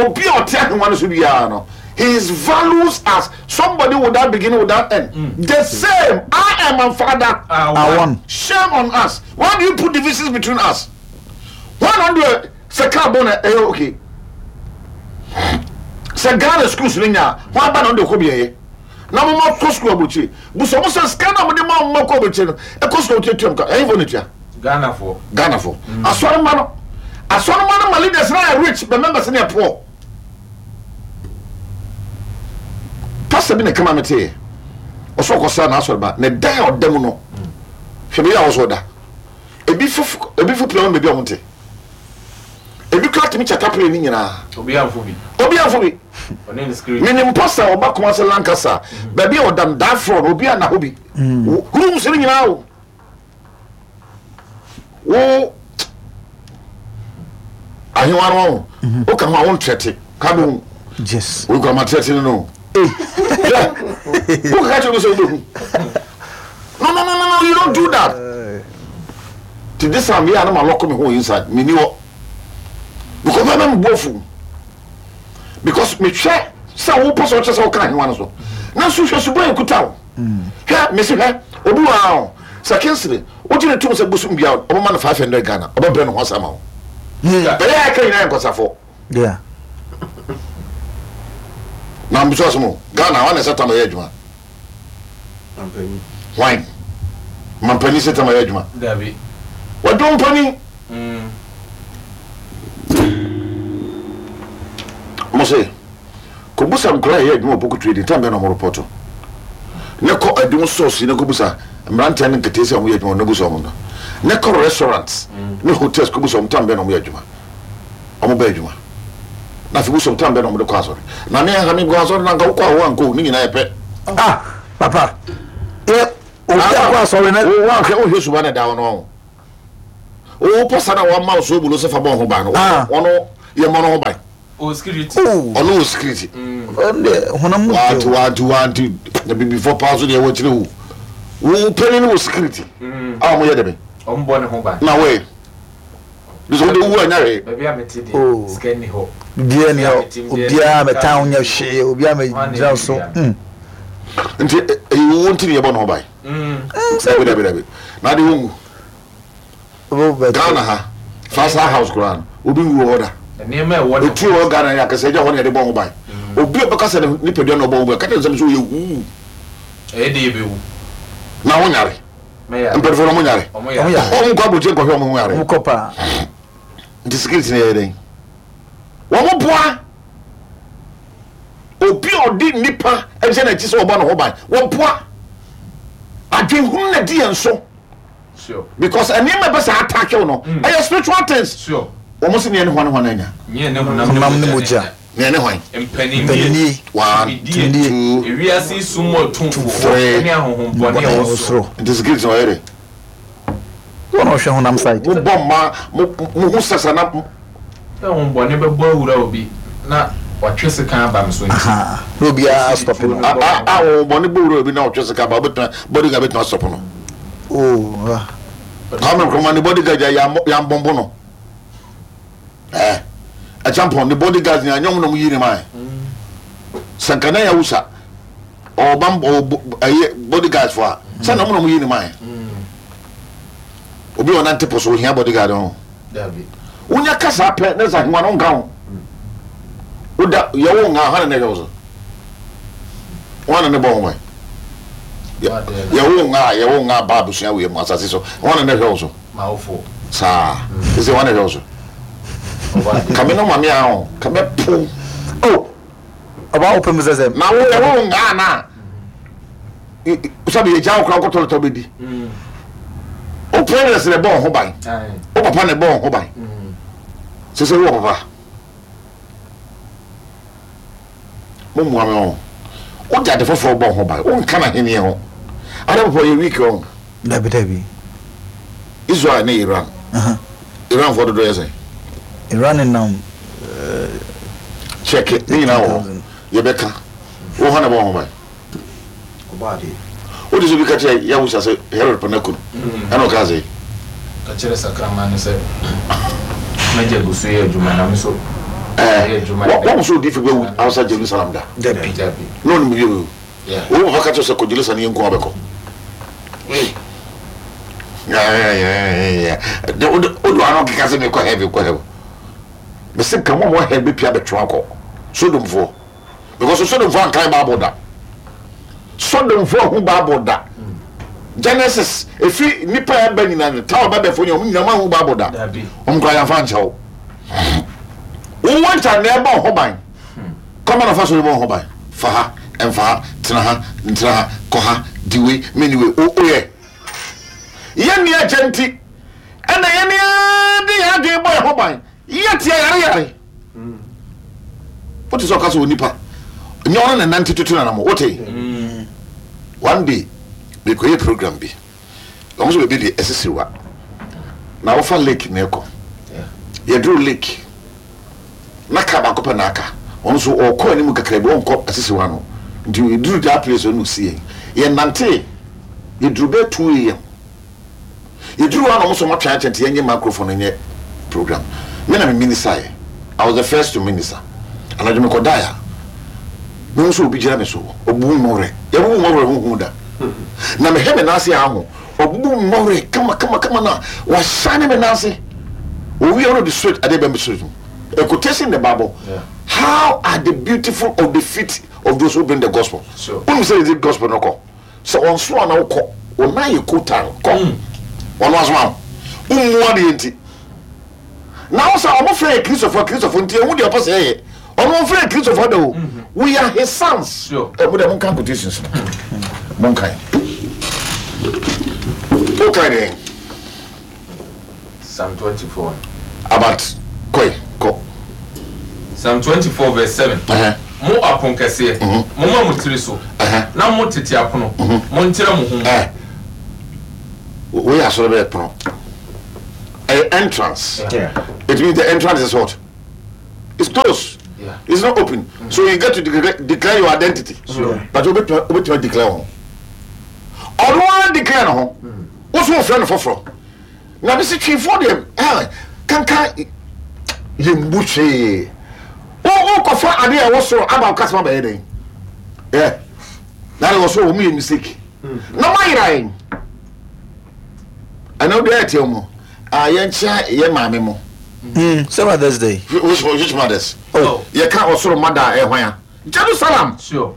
obi a ɔte ahengua no so biara no, his values as somebody without beginning without end. The same, I and my father are one. Shame on us. Why do you put divisions between us? Why not do sɛ car bɔ na ɛyɛ okay? Sɛ Ghana schools no nya a, wɔn aba na wɔn de kɔ bi ɛyɛ. Na mo ma kɔ school aburokyire. Busa mo sɛ sika na mo de ma mo ma kɔ aburokyire no, ɛkɔ school aburokyire tuam ka, ɛyɛ fo na tua. Ghanafoɔ. Ghanafoɔ. Asɔremma no. Asɔremma no ma leaders no ayɛ rich but members no yɛ poor. Pastor bi na ɛka ma meteeɛ. Ɔsɛ ɔkɔsra n'asɔreba ne dan a ɔda mu no. Hwɛ baabi a ɔsɛ ɔda. Ebi fo ebi fo pia wɔn baabi a wɔn te. Ebi kura tumi kyata plane ne nyinaa. Obi anfo bi. Obi anfo bi. Ɔne ne security. Menim pastor a ɔba Kumasi Lancaster. Baabi a ɔda no that floor no obi anna hɔ bi. Rooms no nyinaa o. Wo ahewa no ho woka ho a wontrɛte ka bɛhu Yes. wokura matrɛte no no wokaka kyerɛ me sɛ wobɛhu no no no no no you don't do that ti this time yɛ a na malɔko me ho inside menni hɔ because mɛmɛ mebɔ afu because mehwɛ sɛ wopɛ sɛ ɔkyɛ sɛ woka ahewa no so nanso hwɛ suban ɛkuta wo hwɛ mese hwɛ obi wɔ ha o sɛ Kingsley wogye ne tom sɛ bosom bia ɔbɛma no 500 Ghana ɔbɛbrɛ ne ho asa ma wo bɛyɛ a ɛka nyinaa yɛ nkɔsafo Yeah. na mbisa ɔsɛ mo Ghana wane sɛ tam ɛyɛ adwuma hwan mampani sɛ tam ɛyɛ adwuma Dabi. wadwo mpani mo se kɔbusa nkora ɛyɛ adwuma wɔ Poku Trading tam bɛn na ɔmo repɔto ne kɔ adum source ne kɔbusa mmeranteɛ ne nketee sɛ ɔmo yɛ adwuma ne busa ɔmo no ne kɔ restaurants ne hotels kɔbusa ɔmo tam bɛn na ɔmo yɛ adwuma ɔmo bɛ adwuma. Na afei bosom tam bɛ na wɔde kɔ asɔre. Na me aha me kɔ asɔre na nka wokɔ a woankɔ o ne nyinaa yɛ pɛ. Ah papa yɛ obi akɔ asɔre na. Wo woanhwɛ wohwɛ suba na ɛda hɔ no ɔho. Wo pasa na wɔama wo soobolo sɛ fa bɔ ho ban no wɔn yɛ mmɔ no ho ban. Ɔwɔ security. Ɔno wɔ security. Ɔno deɛ honam mu deɛ. Wanti wanti wanti na bibifɔ paa so deɛ ɛwɔ akyire wo. Wo panyin no wɔ security. A wɔn yɛ dɛbɛ. Wɔn bɔ ne ho ban. Na wɔyɛ. Bisɛ wode wu anya hwee. Baabi a mete deɛ sika nni hɔ. Obiara nni hɔ. Obiara mɛtan wo nyɛ hwee. Obiara mɛgyina so. Nti ɛyɛ wuo nti ne yɛbɔ ne ho ban. Dabi dabi dabi. Na ade wo nwu. Ghana ha Faisal house koraa no obi nwu wɔ hɔ da. Etuo wɔ Ghana yɛ akɛse agya hɔ na yɛde bɔ ho ban. Obi a ɔbɛka sɛ ne nipadua na ɔbɔ ho ban ka kyerɛ no sɛ ɔyɛ huu. Ɛyɛ de yɛbɛwu. Na wo nyare. Mpanyinfoɔ no ɔmo nyare. Ɔmo nkɔ aburokyire nkɔhwɛ ɔmo ho yare. Ɔmo kɔ paa. Nti security no yɛ dɛn? Wɔn boa obi a ɔde nipa gyina n'akyi sɛ ɔbɔ ne ho ban. Wɔboa adwenhunu na di yɛn so. Because nneɛma ɛbɛ sɛ attack wo no ɛyɛ spiritual things. Wɔn si neɛ ne hwan hwan anya. Honam ne mogya. Neɛ ne hwan. Mpaninnie. One, two, Ewiase yi sum mu atumfoɔ ne ahonhommɔne a ɛwɔ soro. Nti security na ɔyɛ dɛ. Wɔn a ɔhwɛ honam side. Mo bɔ mma mo mo ho sasa na. Sɛ honhommɔne bɛbɔ awura obi na watwe sekan aba me so nti. Ahaa na obiara astɔpe no. A a honhommɔne bɔ wura obi na ɔtwe sekan aba obetumi bodyguard betumi astɔpe no. Oh ah. Kwame Nkrumah ne bodyguard yɛ yambɔnbo no. Eh, Acheampong ne bodyguards nyinaa nyɛ ɔmo na ɔmo yi ne mae. Sɛ nka na Yawusa ɔwɔ bam ɔwɔ ɛyɛ bodyguards fo a, sɛ na ɔmo na ɔmo yi ne mae. Obi a ɔnante po so ohia bodyguard ho. Wonya kasa pɛ na sɛ ahengua no nka ho. Woda yɛwo nga hwan na ɛhwɛ wo so? Hwan na ne bɔ ho ban? Yɛwo nga yɛwo nga ba abusua wei mu asase so hwan na ne hwɛ wo so? M'awofo. Saa. Sese hwan na ɛhwɛ wo so? Kame no mame a o, kame po. Oh, ɔba wo pɛ mu sɛ sɛ. Na wo yɛ wo ngaa na. Sabi yɛ gya wo kora wokɔtɔ lotɔ bɛdi. Wo parents na ɛbɔ wo ho ban. Wo papa na ɛbɔ wo ho ban. Sese wo wɔ papa. Mommoa me o. Wode ade foforɔ bɔ ho ban. Wonka n'ahennie ho. Ada papa ɔyɛ weak ɔn. Dabi dabi. Israel ne Iran. Iran foɔ dodoɔ yɛ sɛn? Iran nenam. Check ne nyinaa wɔ hɔ. Yɛbɛka. Wo hɔ na ɛbɔ ho ban. Wode sɛ obi ka kyerɛ Yahusha sɛ Herod pɛ no aku no, ɛna ɔkaa sɛ. Ka kyerɛ sakraman no sɛ, M'agya gu so yɛ adwuma, na me nso meyɛ adwuma nnɛ. Wahu sɛ odiyifo bi awu outside Jerusalem da? Dabi. Na ɔnim obi a wawu? Wo papa ka kyerɛ wo sɛ kɔ Jerusalem yɛnku wo abɛkɔ. Wode w'ano keka sɛ mekɔ heaven, kɔ heaven. Mese nka mo a mowɔ hell bɛpia abɛtwe akɔ. Sodomfoɔ. Because Sodomfoɔ ankan Bible da. Sodomfoɔ ahu Bible da. Genesis efi nipa a ɛba nyinaa no Tower Babelfoɔ nyinaa wɔn nyinaa wɔn ahu Bible da. Wɔn kora yɛnfa nkyɛw. Wowɔ nta na ɛbɔ ho ban. Kɔma na fa so bɔ ho ban. Fa ha, ɛmfa ha, tena ha, ntena ha, kɔ ha, di wei, meni wei. O oyɛ. Yɛn ni agya nti ɛna yɛn ni de yɛn adwene bɔ yɛn ho ban. Yɛ tia yare yare. Wote sɛ ɔka sɛ onipa nyɛ ɔno na nante tutu nanam wote. One day mekɔyɛ program bi wɔn nso baabi de asisiriwa na wofa lake na ɛkɔ yɛduru lake na kaa baako pɛ na aka wɔn nso ɔkɔ anim kakra bi wɔnkɔ asisiriwa no nti yɛduru that place ɔno si yɛn yɛnante yɛduru bɛyɛ 2 am Yɛduruu hɔ a na wɔn nso wɔatwɛn akyɛ nti yɛnyɛ microphone no nyɛ program. Me na me minister-eɛ. I was the first to minister. Anadwo mekɔdaeɛ a, mehu sɛ obi gyina me so, ɔbubu me mmɔwerɛ. Yɛabubu mmɔwerɛ ho hu da. Na mehwɛ me nan ase a aho, ɔbubu me mmɔwerɛ kama kama kama na wahyane me nan ase. Owie a na ɔde straight adeɛ bɛn me straight mu. A quotation in the Bible, How are the beautiful of the feet of those who bring the gospel. Wonim sɛ yɛde gospel no kɔ? Sɛ ɔnsoma na wokɔ, wo nan yɛ kotan, kɔ. Ɔno asoma wo. Wommu adeɛ nti. Na wo sɛ ɔmo frɛ yɛ Kristofoɔ, Kristofoɔ nti ehu deɛ ɔpɛ sɛ yɛyɛ. Ɔno ɔmfrɛ yɛ Kristofoɔ da o. We are his sons. Ɛ mo deɛ monka quotations no. Monkan. Wokan deɛn? Psalm 24 no. About kɔe, kɔ. Psalm 24 verse 7. Mo aponkɛseɛ, momma mo tiri so, na mo tete apono, montrɛ mo ho mu. Wei yɛ asɔre bɛyɛ pono. Ɛyɛ entrance. It means the entrance is what? It's closed. Yeah. It's not open. So you get to declare, declare your identity. Sure. But wobɛtumi declare ho. Ɔno ara declare ne ho. Wo so wofrɛ no foforɔ. Na mese twefoɔ deɛ ah, kankan yɛmmu hwee. Wokɔfa adeɛ a ɛwɔ soro aba wo kasɛm abɛyɛ dɛn? Yeah. Na deɛ wɔ soro wɔn yɛ mistake. Na moayera yɛn. Ɛna wode ayɛ teɛ mu. Ah, yɛnkyea yɛ maame mo. Sɛ Mother's Day. Which mothers? Oh. Yɛka ɔsoro mother a ɛhwan a? Jerusalem. Sure.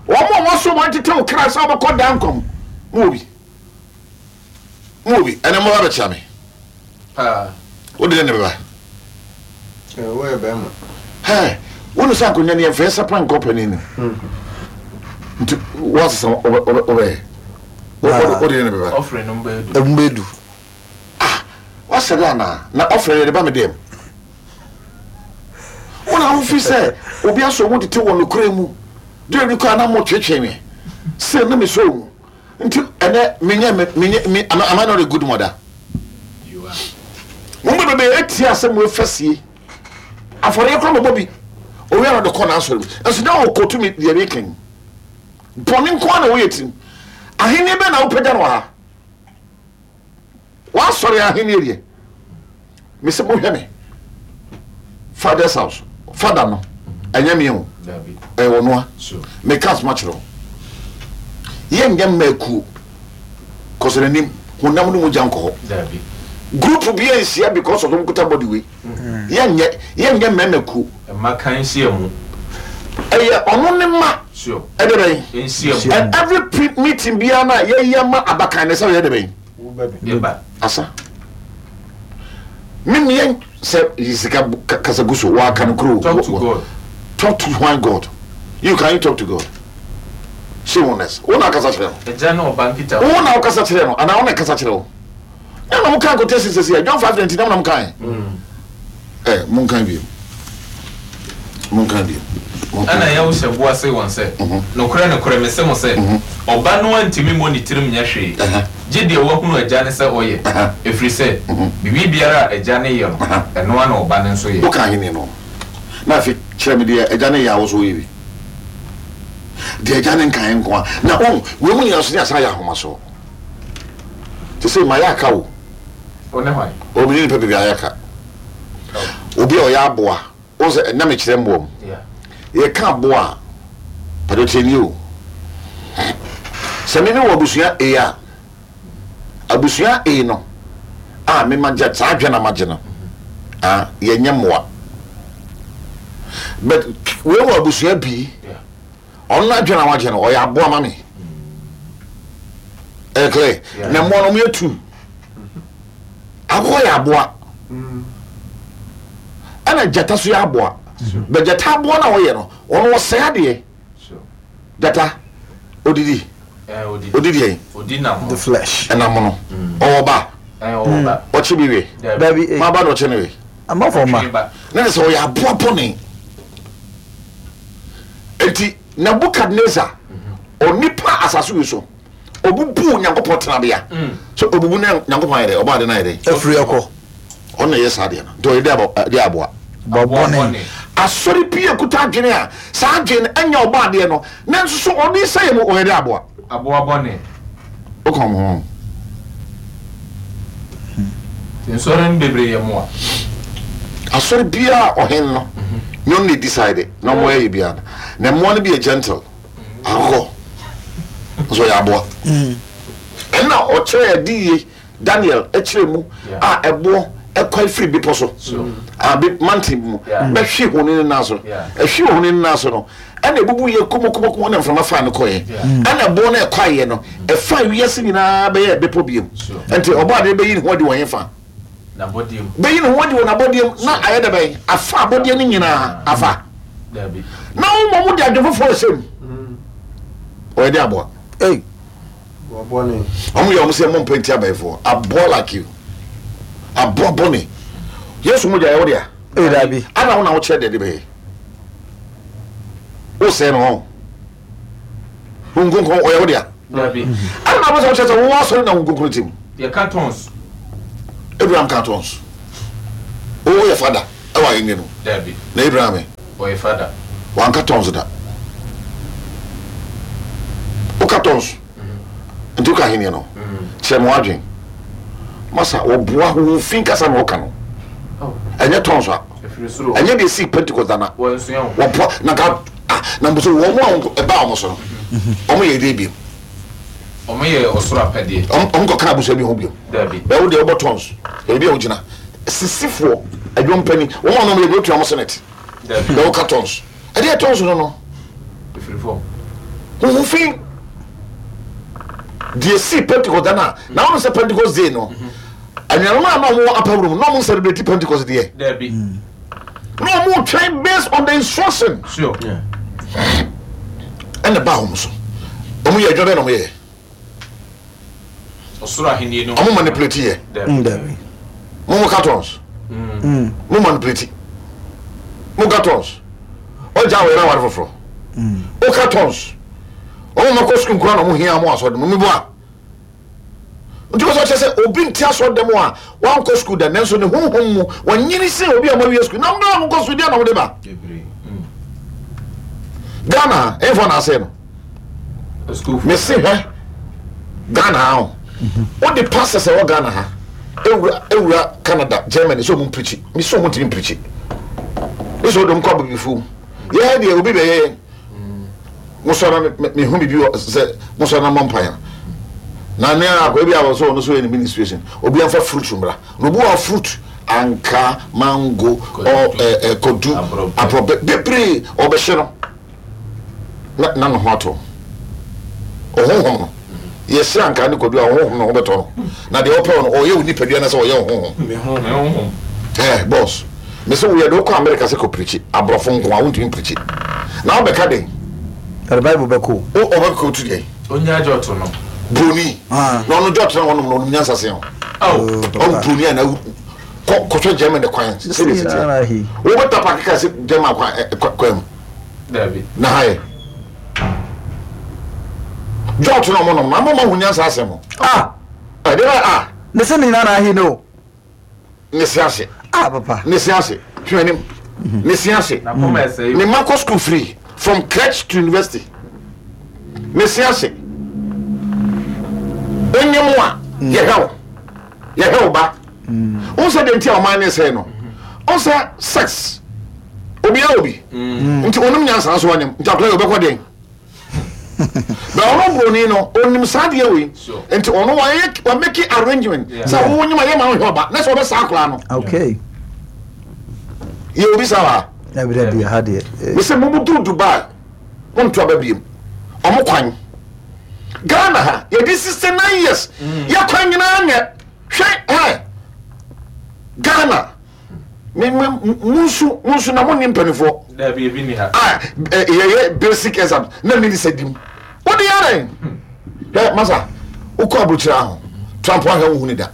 Wɔn a wɔso wɔn tete wo kra sɛ wɔbɛkɔ daa nkwa mu. Mo wɔ bi. Mo wɔ bi. Ɛnɛ mo ba bɛkyea me. Paa. Wo de ne bɛba. Woyɛ bɛrima. Hɛ, wo ne sɛ akonnwa no yɛmfa yɛsa pa nkɔ panin no. Nti woasesa wobɛyɛ. Wo de ne bɛba. Ɔfrɛ no mbɛyɛ du. Mbɛyɛ du. Ah, wasɛ dɛ anaa? Na ɔfrɛ no yɛde ba me dɛm. Wo na wofi sɛ obi asɔ mu tete wɔ nokorɛ mu. Deɛ bi kɔ a na mo twetwe me. Sɛ na mesɔ mu. Nti ɛnɛ menyɛ menyɛ me am I not a good mother? You are. Mo mu bebree etia asɛm mu efasie. Afɔreɛ kora mɔbɔ bi. Owia na ɔde kɔ n'asɔre mu. Nso na ɔkɔtu mi deɛ meka yi. Bɔne nko ara na wɔyɛ tirim. Ahenni bɛn na wopagya no wɔ ha? W'asɔre ahenni deɛ. Mese mohwɛ me. Father's house. Father no. Ɛnyɛ me o. Ɛyɛ ɔno a. Meka asoma kyerɛ wo. Yɛnyɛ mma akuo. Kɔsɛ n'anim. Honam ne mogya nkɔ hɔ. Group bi anhyia because of wɔn body wei. Yɛnyɛ yɛnyɛ mmarima kuo. Mmakan nhyiamu. Ɛyɛ ɔno ne ma. Sure. Ɛde bɛn. Nhyiamu. And every pre meeting biara na yɛyɛ ma abakan ne sɛ ɔyɛ de bɛn. Yɛba. Asa. Me mmea sɛ sika kasa gu so wɔaka no kuro. Talk to God. Talk to why God? You can you talk to God? Shame on us. Wo na akasa kyerɛ no. Ɛgya ne ɔba nkita. Wo na ɔkasa kyerɛ no anaa wo na ɛkasa kyerɛ wo. Na na mo kan quotation sɛsi a John 5:19 na mo kan. Ɛ mo nkan bio. Mo nkan bio. Ɛnna Yahusha bua see wɔn sɛ, Nokorɛ, nokorɛ, mese mo sɛ, Ɔba no ara ntumi mmɔ ne tirim nyɛ hwee, gye deɛ wahunu Agya no sɛ ɔyɛ, ɛfiri sɛ, biribiara a Agya no yɛ no, ɛno ara na Ɔba no nso yɛ. Woka ahenni no, na afei kyerɛ me deɛ Agya no yɛ a wo nso woyɛ bi. Deɛ Agya no nkaeɛ nko ara. Na wohu, wei mu nyinaa nso ne asan ayɛ ahomasoɔ. Te sɛ mayɛ aka o. Wo ne hwan? O me ne nipa bebree ayɛ aka. Obi a ɔyɛ aboa, wohu sɛ na mekyerɛ mmoa mu. Yɛka aboa a, pàtó tie nie o. Sɛ me wɔ abusua A a, abusua A no a me ma gye saa adwene na ma gye no, ah, yɛnyɛ mmoa. But wei wɔ abusua B. Ɔno n'adwene a wagye no, ɔyɛ aboa ma me. Ɛyɛ clear. Na mmoa no, wɔyɛ tu. Akokɔ yɛ aboa. Ɛna gyata so yɛ aboa. Bɛ gyata aboa no a ɔyɛ no, ɔno ɔsɛe adeɛ. Gyata, odidi. Odidi yɛn. The flesh. Ɛnam no. Ɔwɔ ba. Ɔkye bi we. Ma ba na ɔkye no we. Amafo ma. Na ne sɛ ɔyɛ aboa bɔne. Enti Nebukadnesar, onipa asase wei so, obubu Nyankopɔn tenabea. So obubu na Nyankopɔn ayɛ dɛ, ɔbɔ ade no ayɛ dɛ. Afiri ɛkɔ. Ɔno na ɛyɛ saa deɛ no. Nti ɔyɛ dɛ aboa. Bɔne. Asɔre bi ekuta adwene a saa adwene no ɛnyɛ ɔbɔ adeɛ no, nanso so ɔde sɛ yɛ mu ɔyɛ dɛ aboa. Aboa bɔne. Woka wɔn ho. Nsɔre no bebree yɛ mmoa. Asɔre biara ɔhen no nyɛ ɔno na decide na ɔmo ɛyɛ biara no. Na mmoa no bi yɛ gentle. Akokɔ nso ɔyɛ aboa. Ɛna ɔkyerɛ ɛde yie Daniel ɛkyerɛ mu a ɛboɔ ɛkwae firi bepɔ so a be mountain mu bɛhwe honi no nan so. Ɛhwe ohoni no nan so no ɛna ebubu yɛ kumokumokumo na mframa faa no kɔɛ. Ɛna ɛboɔ no ɛkwaeɛ no ɛfaa wiase nyinaa bɛyɛɛ bepɔ biom. Nti ɔbɔadeɛ bɛyi ne ho adi wɔ hefa? Bɛyi ne ho adi wɔ n'abɔdeɛ mu na ayɛ dɛ bɛn? Afa abɔdeɛ no nyinaa afa. Na wo mmom wode adwene foforɔ rehyɛ mu. Ɔyɛ dɛ aboa. Ei. Wɔn yɛ wɔn sɛ mo mpɛ nti abayifoɔ. Aboa like you. Aboa bɔne. Yesu mogya yɛ wo dea. Ei dabi. Ana wo na wokyerɛ deɛ de bɛyɛ. Wosɛe no hɔ. Honhom Kronkron ɔyɛ wo dea. Dabi. Ɛna na wopɛ sɛ wokyerɛ sɛ wowɔ asɔre na Honhom Kronkron te mu. Yɛka tons. Abraham ka tons. Woyɛ fada ɛwɔ ahenni no. Dabi. Na Abraham ɛ? Ɔyɛ fada. Wanka tons da. Woka tons. Nti woka ahenni no. Kyerɛ me w'adwen. Masa, wɔboa honhom fi kasa na wɔka no. Ɛnyɛ tons a. Ɛnyɛ deɛ ɛsii Pentecost da na wɔboa na nka ah na mpo sɛ wɔn a ɛbaa wɔn so no wɔn yɛ deɛ biom. Wɔn yɛ ɔsoro apɛdeɛ. Wɔn kɔ kan abusua bi ho biom. Dabi. Bɛwo deɛ wɔbɔ tons baabi a wogyina sisifoɔ adwumpani wɔn a wɔn yɛ bi wotua wɔn senate. Dabi. Bɛwo ka tons ɛdeɛ tons no no. Efiri fam. Huhu fi deɛ sii Pentecost da na na wɔn sɛ Pentecost day no. Anuanom a na wɔwɔ upper room na wɔn celebrate Pentecost deɛ. Dabi. Na wɔn twɛn based on the instruction. Sure. Ɛna ba wɔn so. Wɔn yɛ adwuma bɛn na wɔn yɛ. Ɔsoro ahenni no. Wɔn manipulate yɛ. Dabi. Mo mo cartons. Mo manipulate. Mo cartons. Ɔgya wɔ yɛrɛ awari foforɔ. O cartons. Wɔn mo kɔ sukuu nkura na wɔn hia mo asɔre mo mi bɔ a. Nti wɔ sɛ ɔkyerɛ sɛ obi nte asɔrdan mu a wankɔ sukuu da nanso ne honhom mu wanyini sen obi a wɔawie sukuu na mmerɛ a wɔkɔ sukuu deɛ na wɔde ba Ghana ha ɛmfa na asɛe no mese hwɛ Ghana ha o wode pastors ɛwɔ Ghana ha ewura ewura Canada Germany sɛ ɔmo mpirikyi mese ɔmo ntumi mpirikyi ne sɛ ɔde ɔmo kɔ abibifo mu yɛɛ deɛ obi bɛyɛ yɛn Mosɔre na mehu biribi wɔ sɛ mosɔre na mmɔ mpaeɛ na ne akɔ ebi a wɔ so ɔno so yɛ ne ministration obi anfa fruit mmra na obi wɔ fruit anka mango ɔ ɛ ɛ kodu aborɔbɛ bebree ɔbɛhyɛ no na na ne ho atɔ ɔhonhom no yɛhyɛ anka ne kodu a ɔhonhom no ho bɛtɔ no na deɛ ɔpɛ no ɔyɛ wo nipadua na sɛ ɔyɛ ɔhonhom ɛ bɔs Mese wo yɛde wo kɔ America sɛ kɔ pirikyi aborɔfo nko a wontumi mpirikyi na wobɛka den. Ɔde bible bɛkɔ o. O ɔbɛkɔ otu deɛn. Onya jɔto no. Broni na ɔno jɔto na wɔnom no ɔnom nyansa sen o. Ɔn broni a na kɔ kɔhwɛ Germany kwan sɛdeɛ ɛsi teɛ. Wobɛta park kaa sɛ German kwan kwan mu. Dabi. Na ha yɛ. Jɔto na ɔmo nom no ama ɔmo ahu nyansa asen mo. Ah. Ɛdeɛ bɛ ah. Ne se ne nyinaa na ahe no. Ne se ase. Ah papa. Ne se ase. Hwɛ anim. Ne se ase. Ne mma kɔ school free from crèche to university. Ne se ase. Onye mu a yɛhwɛ wo. Yɛhwɛ wo ba. Wo sɛ deɛ nti a ɔman ne sɛe no. Wo sɛ sex. Obiara obi. Nti onim nyansa nso ɔnyem. Nti akɔla yɛ ɔbɛkɔ deɛn. Na ɔno broni no onim saa adeɛ wei nti ɔno wayɛ wa make arrangement sɛ wo nyima yɛ ma wohwɛ ɔba na sɛ ɔbɛ saa akwaraa no. Okay. Yɛ obi saa wa. Dabi dabi ha deɛ. Eh. Mesɛ mo mo duru Dubai mo nto aba biem ɔmo kwan Ghana ha yɛdi 69 years mm. yɛ kwan nyinaa nyɛ hwɛ ɛ Ghana. Me me munsu munsu na mo ni mpanimfoɔ. Dabi ebi ni ha. A yɛyɛ basic exam na mi ni sɛ dim. O de yɛ dɛ. Hɛ masa wokɔ aburokyire aho Trump ahwɛ wo hu ne da.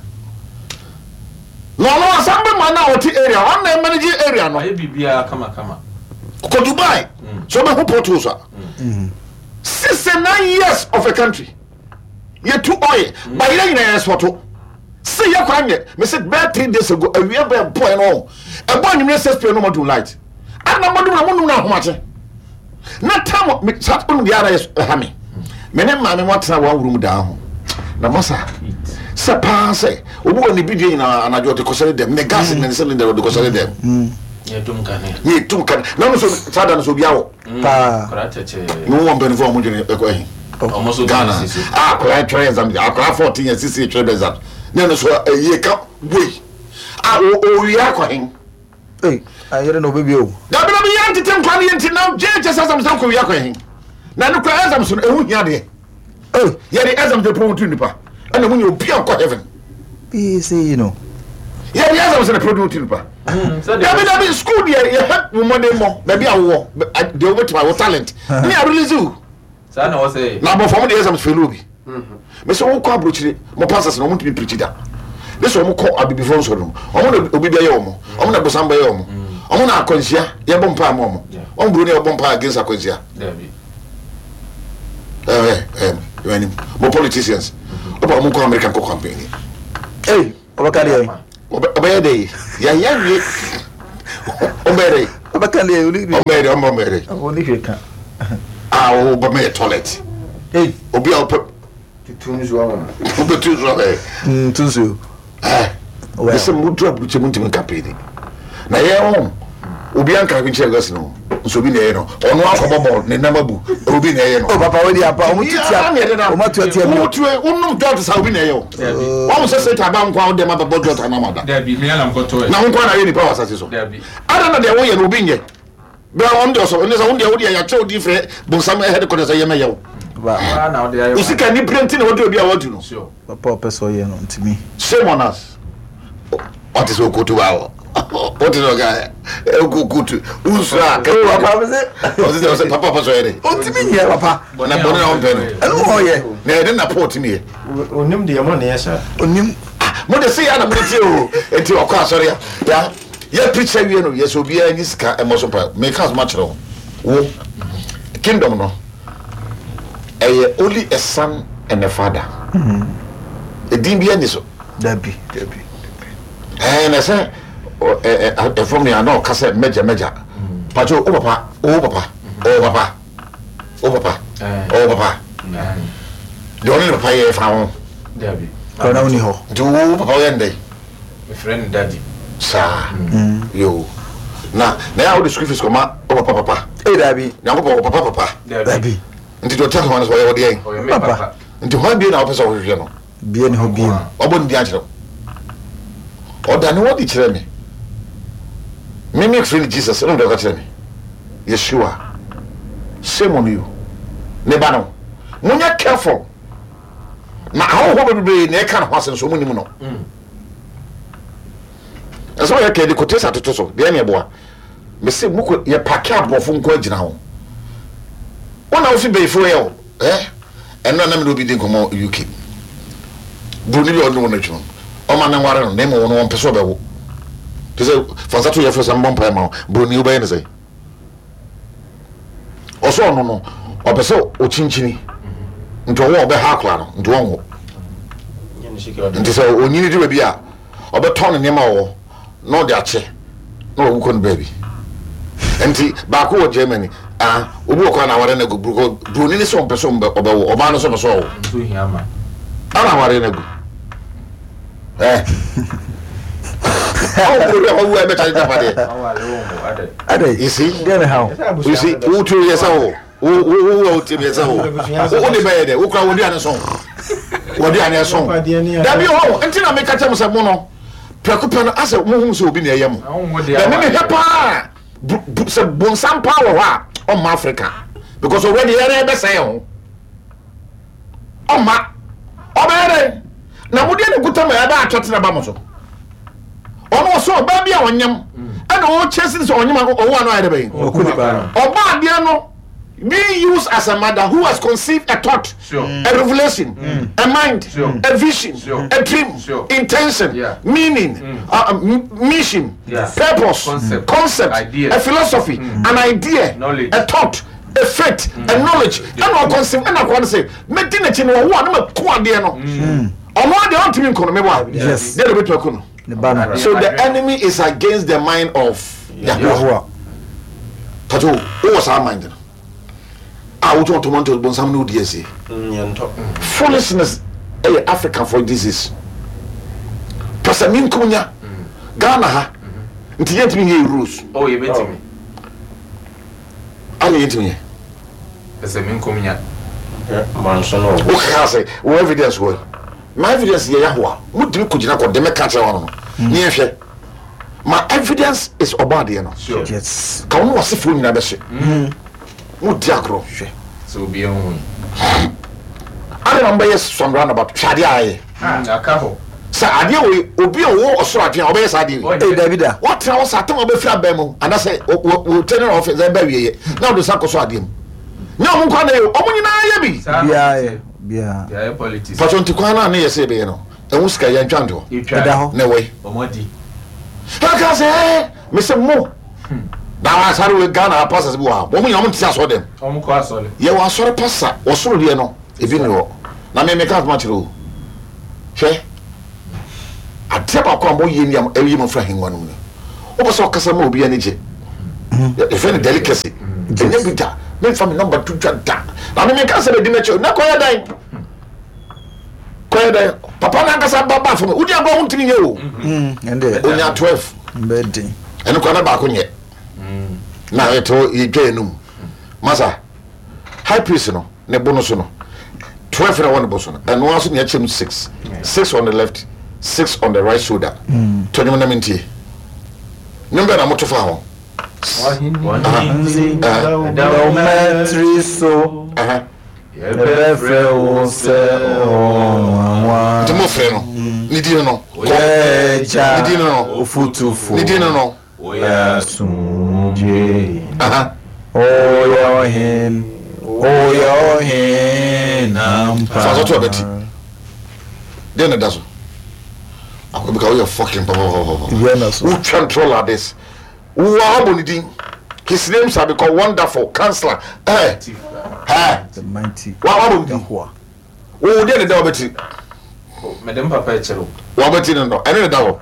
Na ɔno asan bɛ ma na ɔte area ɔno na manage area no. Ayɛ biribiara kama kama. Kɔ Dubai so ɔbɛhu potholes a. 69 years of a country. Yɛtu oil ba yɛ nyina yɛ sɔto. Se yɛ kwan nyɛ me se bɛɛ 3 days ago awia bɛɛ bɔɛ no ɛbɔ anwummerɛ 6 pm no mɔdum light ana mɔdum na monum no ahomakye na tam me sa onu deɛ ara yɛ ɛha me me ne maame mo atena wɔn room daa ho na masa sɛ paa sɛ obi wɔ ne bidie nyinaa anadwo ɔde kɔsɛre dɛm ne gas ne ne cylinder ɔde kɔsɛre dɛm ne ɛtum kanea ne ɛtum kanea na no so saa da no so obi awɔ paa. Ne wɔ mpanyinfoɔ a wɔn dwene ɛkɔ ɛhe. Ghana a akwadaa twɛrɛ exam akwadaa 14 years sisi twɛrɛ exam ne ɛno so ɛyie ka wei a owia akɔ hen. Ee ayere na obebi o. Dabi dabi yɛn tete nkwa ne yɛn ti na JHS exam sɛ kɔ wia akɔ hen na ne kura exam so no ehu hia deɛ. Yɛde exam de promote nipa ɛna mu nyɛ obi a nkɔ heaven. Bii sɛ yi no. Yɛde exam sɛ na promote nipa. Dabi dabi school deɛ yɛhwɛ wo mmɔden mmɔ baabi a wowɔ deɛ wobɛtumi wo talent ne a release wo. Saa na wɔsɛ. Na abɔfra mo de exams fail obi. Mɛ sɛ wokɔ aburokyire mo pastors na wɔn ntumi pirikyi da. Ne sɛ wɔn kɔ abibifoɔ nsɔre no wɔn na obi bɛyɛ wɔn wɔn na bosan bɛyɛ wɔn. Ɔmo na akwanhyia yɛbɔ mpae ma ɔmo. Wɔn buroni a ɔbɔ mpae against akwanhyia. Ɛɛ ɛɛ ɛɛ mo politicians. Ɔba ɔmo nkɔ America nkɔ campaign. Ee ɔbɛka deɛ. Ɔbɛyɛ dɛ yɛayɛ wie. Ɔbɛyɛ dɛ. Ɔbɛka deɛ. Ɔbɛyɛ dɛ ɔbɛyɛ dɛ. Ɔne hwɛ ka. A ɔbɛma yɛ toilet. Obi a ɔpɛ. Tutu nsuo ama no. Wobɛtu nsuo ama yɛ. Mm, tu nsuo. Ɛɛ. Ɛsɛ mo duru aburukyɛ mo ntumi nka pii ni. Na yɛ ho obi anka hwɛ nkyerɛ gɛs no nso obi na ɛyɛ no ɔno akɔbɔ bɔɔl ne nam abu obi na ɛyɛ no. O papa wo di apa ɔmo tu tia ɔmo atu atia mi. Wotu wonom dɔɔt sa obi na ɛyɛ o. Wɔn sɛ satan ba nkwa ɔdɛm abɛbɔ dɔɔt anam ada. Dabi mi anam kɔtɔ yɛ. Na ho nkwa na ayɛ nipa wɔ asase so. Dabi. Ada na deɛ woyɛ no obi nyɛ. Bra wɔn deɛ ɔsɔ ɛne sɛ wɔn deɛ wodeɛ yɛakyɛ wo din frɛ bonsam headquarters sɛ yɛmɛyɛ wo. Wo sika ni pere nti na wɔde obi a wɔadu no. Papa ɔpɛ sɛ ɔyɛ no ntumi. Shame on us. Ɔte sɛ okotu ba hɔ. Wote sɛ ɔka okotu wonsuro a. Papa mi sɛ. Ɔte sɛ ɔsɛ papa ɔpɛ sɛ ɔyɛ dɛ. Ɔntumi nyɛ papa. Na bɔne na ɔmpɛ no. Ɛno na ɔyɛ. Na ɛde na Paul tumi yɛ. Onim deɛ mo ne yɛ saa. Onim. Mo de se yɛ na mo de tie o. Eti ɔkɔ asɔre a ya. Yɛ preach awie no yɛsɛ obiara nyi sika mmɔ so mpae meka asɛm akyerɛ wo wo kingdom no ɛyɛ only a son and a father edin bi ani so. Dabi dabi. Ɛɛ na sɛ ɛfam nea na ɔka sɛ mɛgya mɛgya patro o papa o papa o papa o papa o papa deɛ ɔne ne papa yɛ fa ho. Dabi. Ɔna woni hɔ. Nti wo papa woyɛ ndɛ. Mefrɛ no daddy. Saa. Yoo. Na na yɛ a wode school fees kɔma wo papa papa. Ee dabi. Nyankopɔn wɔ papa papa. Dabi. Nti deɛ ɔte ahoma no so ɔyɛ ɔdeɛn? Ɔyɛ me papa. Nti hwan bio na wopɛ sɛ wohwehwɛ no? Bie ne hɔ bio. Wabɔ ne din akyerɛ wo. Ɔda ne ho adi kyerɛ me. Me me frɛ no Jesus ɛna ɔde ɔka kyerɛ me. Yeshua. Shame on you. Ne ba no. Monyɛ careful. Na ahɔhoɔ bebree na ɛka ne ho asɛm so wɔn nim no. Ɛsɛ ɔyɛ kɛde kotesa toto so deɛ ne ɛboa. Mese mokɔ yɛ pake aborɔfo nko agyina ho. Wɔn na wofi bɛyifoɔ yɛ o. Eh? Ɛno na mene obi di nkɔmmɔ UK. Buroni bi a ɔne wɔn adwuma mu. Ɔma ne nware no na mmom wɔn wɔmpɛ sɛ ɔbɛwo. Te sɛ fa nsa to yɛfrɛ sɛ mbɔ mpaeɛ ma wo. Buroni wobɛyɛ ne sɛ. Ɔsɛ ɔno no ɔpɛ sɛ ɔkyinkyini nti ɔwɔ ɔbɛha akora no nti ɔnwo nti sɛ ɔnyini du baabi a ɔbɛtɔn ne nneɛma ɔwɔ na ɔde akyɛ na wawu kɔ no baabi nti baako wɔ Germany ah obi wɔ kɔ na aware no agu buroni ne sɛ ɔmpɛ sɛ ɔbɛwo ɔbaa no sɛ ɔpɛ sɛ ɔwo ana aware no agu Eh. Awo kuro bi a wawu a ɛbɛkyɛ agyapadeɛ. Adɛ. You see? Deɛ ne ha o. You see? Wo tu yɛ sɛ wo. Wo wo wo wo ti yɛ sɛ wo. Wo de bɛyɛ dɛ. Wo kura wo duane so. Wo duane so. Dabi hɔ nti na meka kyɛ mo sɛ mo no prɛko pɛ no asɛ mo hu sɛ obi na ɛyɛ mo. Na me mehwɛ paa sɛ bonsam paa wɔ hɔ a ɔmma Africa because already yɛrɛ bɛsɛe ho. Ɔmma. Ɔbɛyɛ dɛn? Na mode ne nkuta ma ɛbɛ atwɛtena ba mo so. Ɔno ɔsɛ ɔbaa bi a ɔnyam ɛna ɔkyɛ sin sɛ ɔnyam ɔwɔ ano ayɛ dɛ bɛyɛ. Ɔbaa adeɛ no being used as a mother who has conceived a thought, sure. a revelation, a mind, sure. a vision, sure. a dream, sure. intention, yeah. meaning, mission, yes. purpose, concept, idea. a philosophy, an idea, knowledge. a thought, a faith, a knowledge. Ɛna ɔkɔnsɛm ɛna akɔla no sɛ mɛdi n'akyi no ɔwo a na mako adeɛ no. Ɔno adeɛ ɔntumi nko no mebɔ a. Deɛ na obɛtumi ako no. So the enemy is against the mind of Yahuwah. Pato wowɔ saa mind no a wotɔn tomatoes bonsam ne wodi asie. Foolishness ɛyɛ African for disease. Pɛsɛ menkonya Ghana ha nti yɛntumi nyɛ rules. Oh, yɛbɛtumi. Ana yɛntumi nyɛ. Ɛsɛ me nkom nya. Wokeka sɛ wo evidence wɔ ma evidence yɛ Yahowa motumi kɔgyina kɔ de mɛka kyerɛ wɔn no ne yɛhwɛ ma evidence is ɔbɔ adeɛ no ka wo ne wasefoɔ nyinaa bɛhye modi agorɔ hwɛ sɛ obi ahu ana na mobɛyɛ some roundabout hwɛ adeɛ a ayɛ Aka hɔ. Sɛ adeɛ wei obi a ɔwɔ ɔsoro adwene a ɔbɛyɛ saa adeɛ wei. Ee dabi da. Watena hɔ saa tam a ɔbɛfiri abɛn mu anaasɛ wɔ tɛne na ɔfɛ sɛ ɛbɛ awieɛ na ɔde nsa kɔ so adeɛ mu. Nyɛ ɔmo nko na yɛ ɔmo nyinaa yɛ bi. Biara yɛ biara. Pàtó nti kwan naa ne yɛ sɛ yɛbɛyɛ no ɛho sika yɛn ntwa ntoɔ. Ɛda hɔ. Na ɛwɔ yi. Ɔmo adi. Ɛka sɛ ɛɛ mesɛ mo. Na asɔre wei Ghana pastors bi wɔ ha. Wɔn nyinaa wɔn nte asɔre dɛm. Wɔn kɔ asɔre. Yɛwɔ asɔre pastor wɔ soro deɛ no ebi ni hɔ. Na me meka asɛm akyerɛ o. Hwɛ adeɛ baako a moyɛ ni a ɛyi mo firi ahengua no mu ni. Wopɛ sɛ ɔkasa ma obi ani gye. Yɛfrɛ no delicacy. Ɛnyɛ bi da. Memfa me nɔmba to dwa da. Na me menka sɛ bɛdi m'akyi o. Na kɔyɛ dɛn? Kɔyɛ dɛn? Papa no ankasa ba ba fam. Wodi agorɔ ho ntumi nyɛ o. Onya 12. Ɛno koraa na baako nyɛ. Na yɛte yɛdwa yɛn mu. Masa, high priest no, ne bo no so no, 12 na ɛwɔ ne bo so no, ɛno ara so na yɛakyɛ mu 6. 6 on the left, 6 on the right shoulder. To nnwom na mentie. Nnwom bɛn na moto fa ho? W'ahenni da wo mmatiri so. Yɛbɛfrɛ wo sɛ ɔnwanwa. Nti mofrɛ no, ne din no. Woyɛ Agya, Ne din no. Ɔfotufo. Ne din no. Woyɛ Asomdwoe. Woyɛ Ɔhen, woyɛ Ɔhen ampa. Fa so to abati. Deɛ na da so. Akɔbika woyɛ fucking papapapapa. Wotwa ntorɔ like this. Wo a wabɔ ne din. His name shall be called Wonderful Counselor. Eh. Eh. Wa wabɔ ne din. Wo deɛ ne da wabɛti. Mede m papa kyerɛ wo. Wabɛti no no. Ɛne ne da hɔ.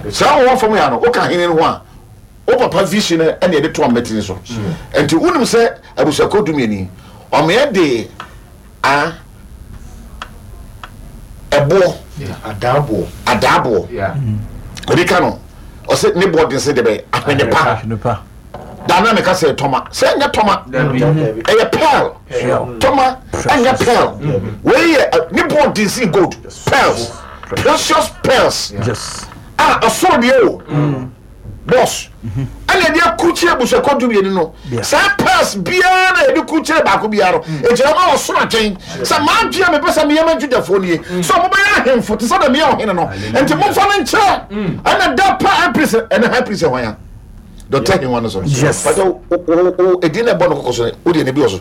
Saa wɔwɔ fam ya no, woka hene no ho a, wo papa vision no ɛne ɛde to amɛtini so. Nti wonim sɛ abusuakuo dumieni, ɔmeɛ de A ɛboɔ. Adaaboɔ. Adaaboɔ. Obi ka no, ɔsɛ ne boɔ den sɛ deɛ bɛyɛ ahwene pa. Da na meka sɛ tɔma. Sɛ ɛnyɛ tɔma. Ɛyɛ pearl. Tɔma ɛnyɛ pearl. Wei yɛ ne boɔ den sɛ gold. Pearls. Precious pearls. A ɔsoro deɛ o. Boss, ɛna yɛde akurukyerɛ abusuakuo dumienu no. Saa purse biara na yɛde kurukyerɛ baako biara no, mm. ɛgyina ma ɔsoro atwɛn sɛ m'adwene a mepɛ sɛ meyɛ ma Judafoɔ nie, mm. sɛ wɔbɛyɛ ahemfo te sɛ deɛ meyɛ ɔhene no. Nti momfa no nkyerɛ. Mm. Ɛna da pa high priest, ɛna high priest hwan a? Dɔkta Henwa no so. Yes. Pàtó o o edin na ɛbɔ no kɔkɔ so no, o deɛ ne bi wɔ so.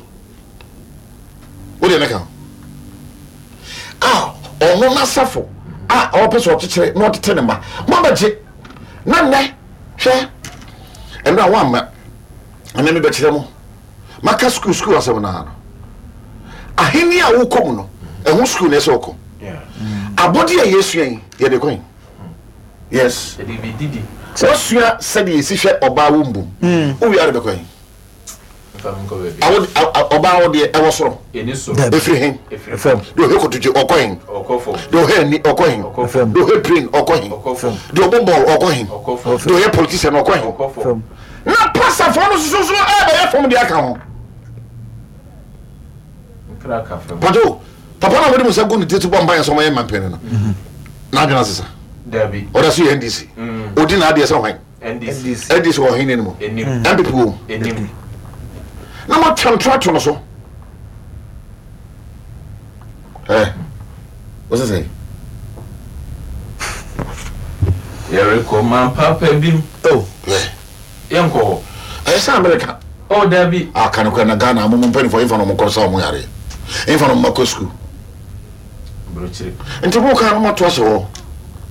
O deɛ ne ka ho. A ɔno n'asafo a ɔpɛ sɛ ɔkyekyere na ɔtete ne mma. Mo abɛgye. Na nnɛ, hwɛ, ɛno a woamma, ɛnɛ mebɛkyerɛ mo. Maka sukuu sukuu asɛm no ara no. Ahenni a wokɔ mu no, ɛho sukuu na ɛsɛ wokɔ. Abɔde a yɛsua yi, yɛde kɔn. Yes. Wasua sɛdeɛ yɛsi hwɛ ɔbaa wo mbom. Wowie a de bɛkɔ he? Ɔbaa wo deɛ ɛwɔ soro. Ɛfiri he? Deɛ ɔhwɛ kotodwe ɔkɔ he? Deɛ ɔhwɛ ani ɔkɔ he? Deɛ ɔhwɛ brain ɔkɔ he? Deɛ ɔbɔ bɔɔl ɔkɔ he? Deɛ ɔyɛ politician ɔkɔ he? Na pasafoɔ no soso so ɛbɛyɛ fam deɛ aka ho. Pato, papa na wɔde mu nsa gu ne ti so bɔ mpaeɛ sɛ ɔmɛyɛ mmampanin no. N'adwene asesa. Ɔda so yɛ NDC. Ɔdi n'adeɛ sɛ hwan? NDC. NDC wɔ ɔhene no mu. NPP wɔ mu. Na wɔatwa ntorɔ ato no so. Ɛ wɔsɛ sɛ. Yɛrekɔ man papa bi mu. Oh. Yɛnkɔ hɔ. Ɛyɛ sɛ Amerika. Oh dabi. Aka no kora na Ghana mo mo mpanimfoɔ yɛmfa no mo nkɔ sa wɔn yareɛ. Yɛmfa no mo makɔ sukuu. Nti mo kan no mo ato ahyɛ hɔ.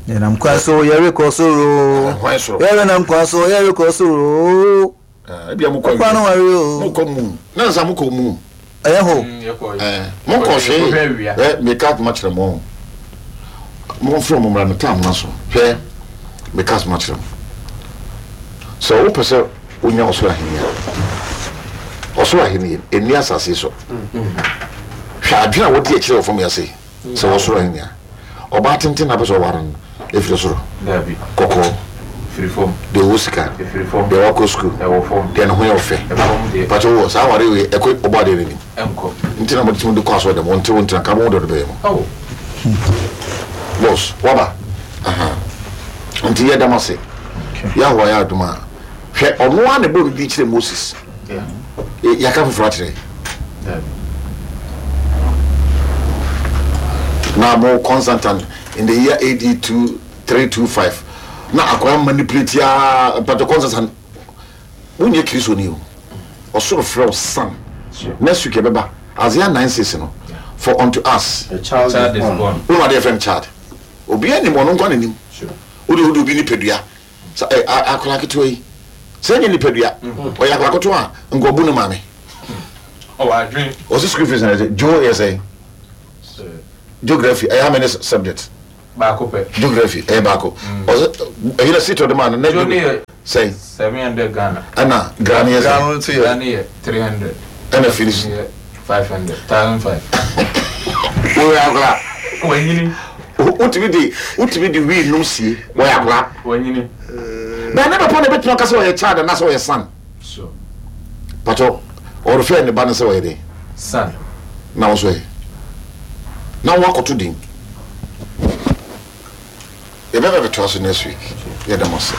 Yɛnam kwan so yɛrekɔ soro. Hwan soro? Yɛrenam kwan so yɛrekɔ soro. Ebia mo kɔ Kwan no ware o. Mo kɔ mu. Na nsa mo kɔ mu. Ɛyɛ hɔ. Mo kɔ hwee. Ɛ meka asoma kyerɛ mo. Mo mfrɛ mo mmra me tam na so. Hwɛ meka asoma kyerɛ mo. Sɛ wopɛ sɛ wonya ɔsoro ahenni a, ɔsoro ahenni ɛnni asase so. Hwɛ adwene a wɔde akyerɛ wɔ fam yi ase sɛ ɔsoro ahenni a, ɔbaa tenten na apɛ sɛ ɔware no ɛfiri soro, kɔkɔɔ, deɛ ɔwɔ sika, deɛ wakɔ sukuu, deɛ ne ho yɛ ɔfɛ. Pakyɛ wɔ saa aware wei ɛkɔ ɔbɔ adeɛ no anim. Nti na mode tumi de kɔ asɔre dɛm, wɔnte wo ntena ka mo dɔ no bɛyɛ mo. Boss, waba. Nti yɛ dam ase. Yahweh ayɛ adom a, hwɛ ɔno ara na ɛbɔɔ ne din kyerɛɛ Moses. Yɛaka foforɔ akyerɛ. Na mo Constantine in the year AD 2325 na akwaa manipulate ya mpatɔ Constantine wonyɛ Kristoni o. Ɔsoro frɛ wo son. Next week ɛbɛba Isaiah 9 6 no for unto us A child is born. Wonu adeɛ yɛfrɛ no child. Obiara nim ɔno nko na nim. Wode wode obi nipadua sɛ ɛ akwadaa ketewa yi sɛ ɛnyɛ nipadua ɔyɛ akwadaa ketewa a nka ɔbu ne maame. Ɔwɔ adwene. Ɔsi school fees na ɛsɛ geo yɛ sɛ geography ɛyɛ how many subject? Baako pɛ. Geography ɛyɛ baako. Ɔsɛ ɛyi na seat ɔde maa no na Geo ne yɛ sɛn? 700 Ghana. Ɛna gra ne yɛ sɛn? Gra no nso yɛ. Gra ne yɛ 300. Ɛna finish. Ne yɛ 500, 1005. Wɔyɛ akwadaa. Wanyini. Wotumi de wotumi de wii nom sie wɔyɛ akwadaa. Wanyini. Na ne papa na ebetumi aka sɛ ɔyɛ child anaasɛ ɔyɛ son. Sure. Patɔ ɔrefɛ ne ba no sɛ ɔyɛ dɛn? Son. Na wo nso ɛ? Na wo akɔto din. Yɛbɛba bɛtoa so next week. Yɛda mo ase.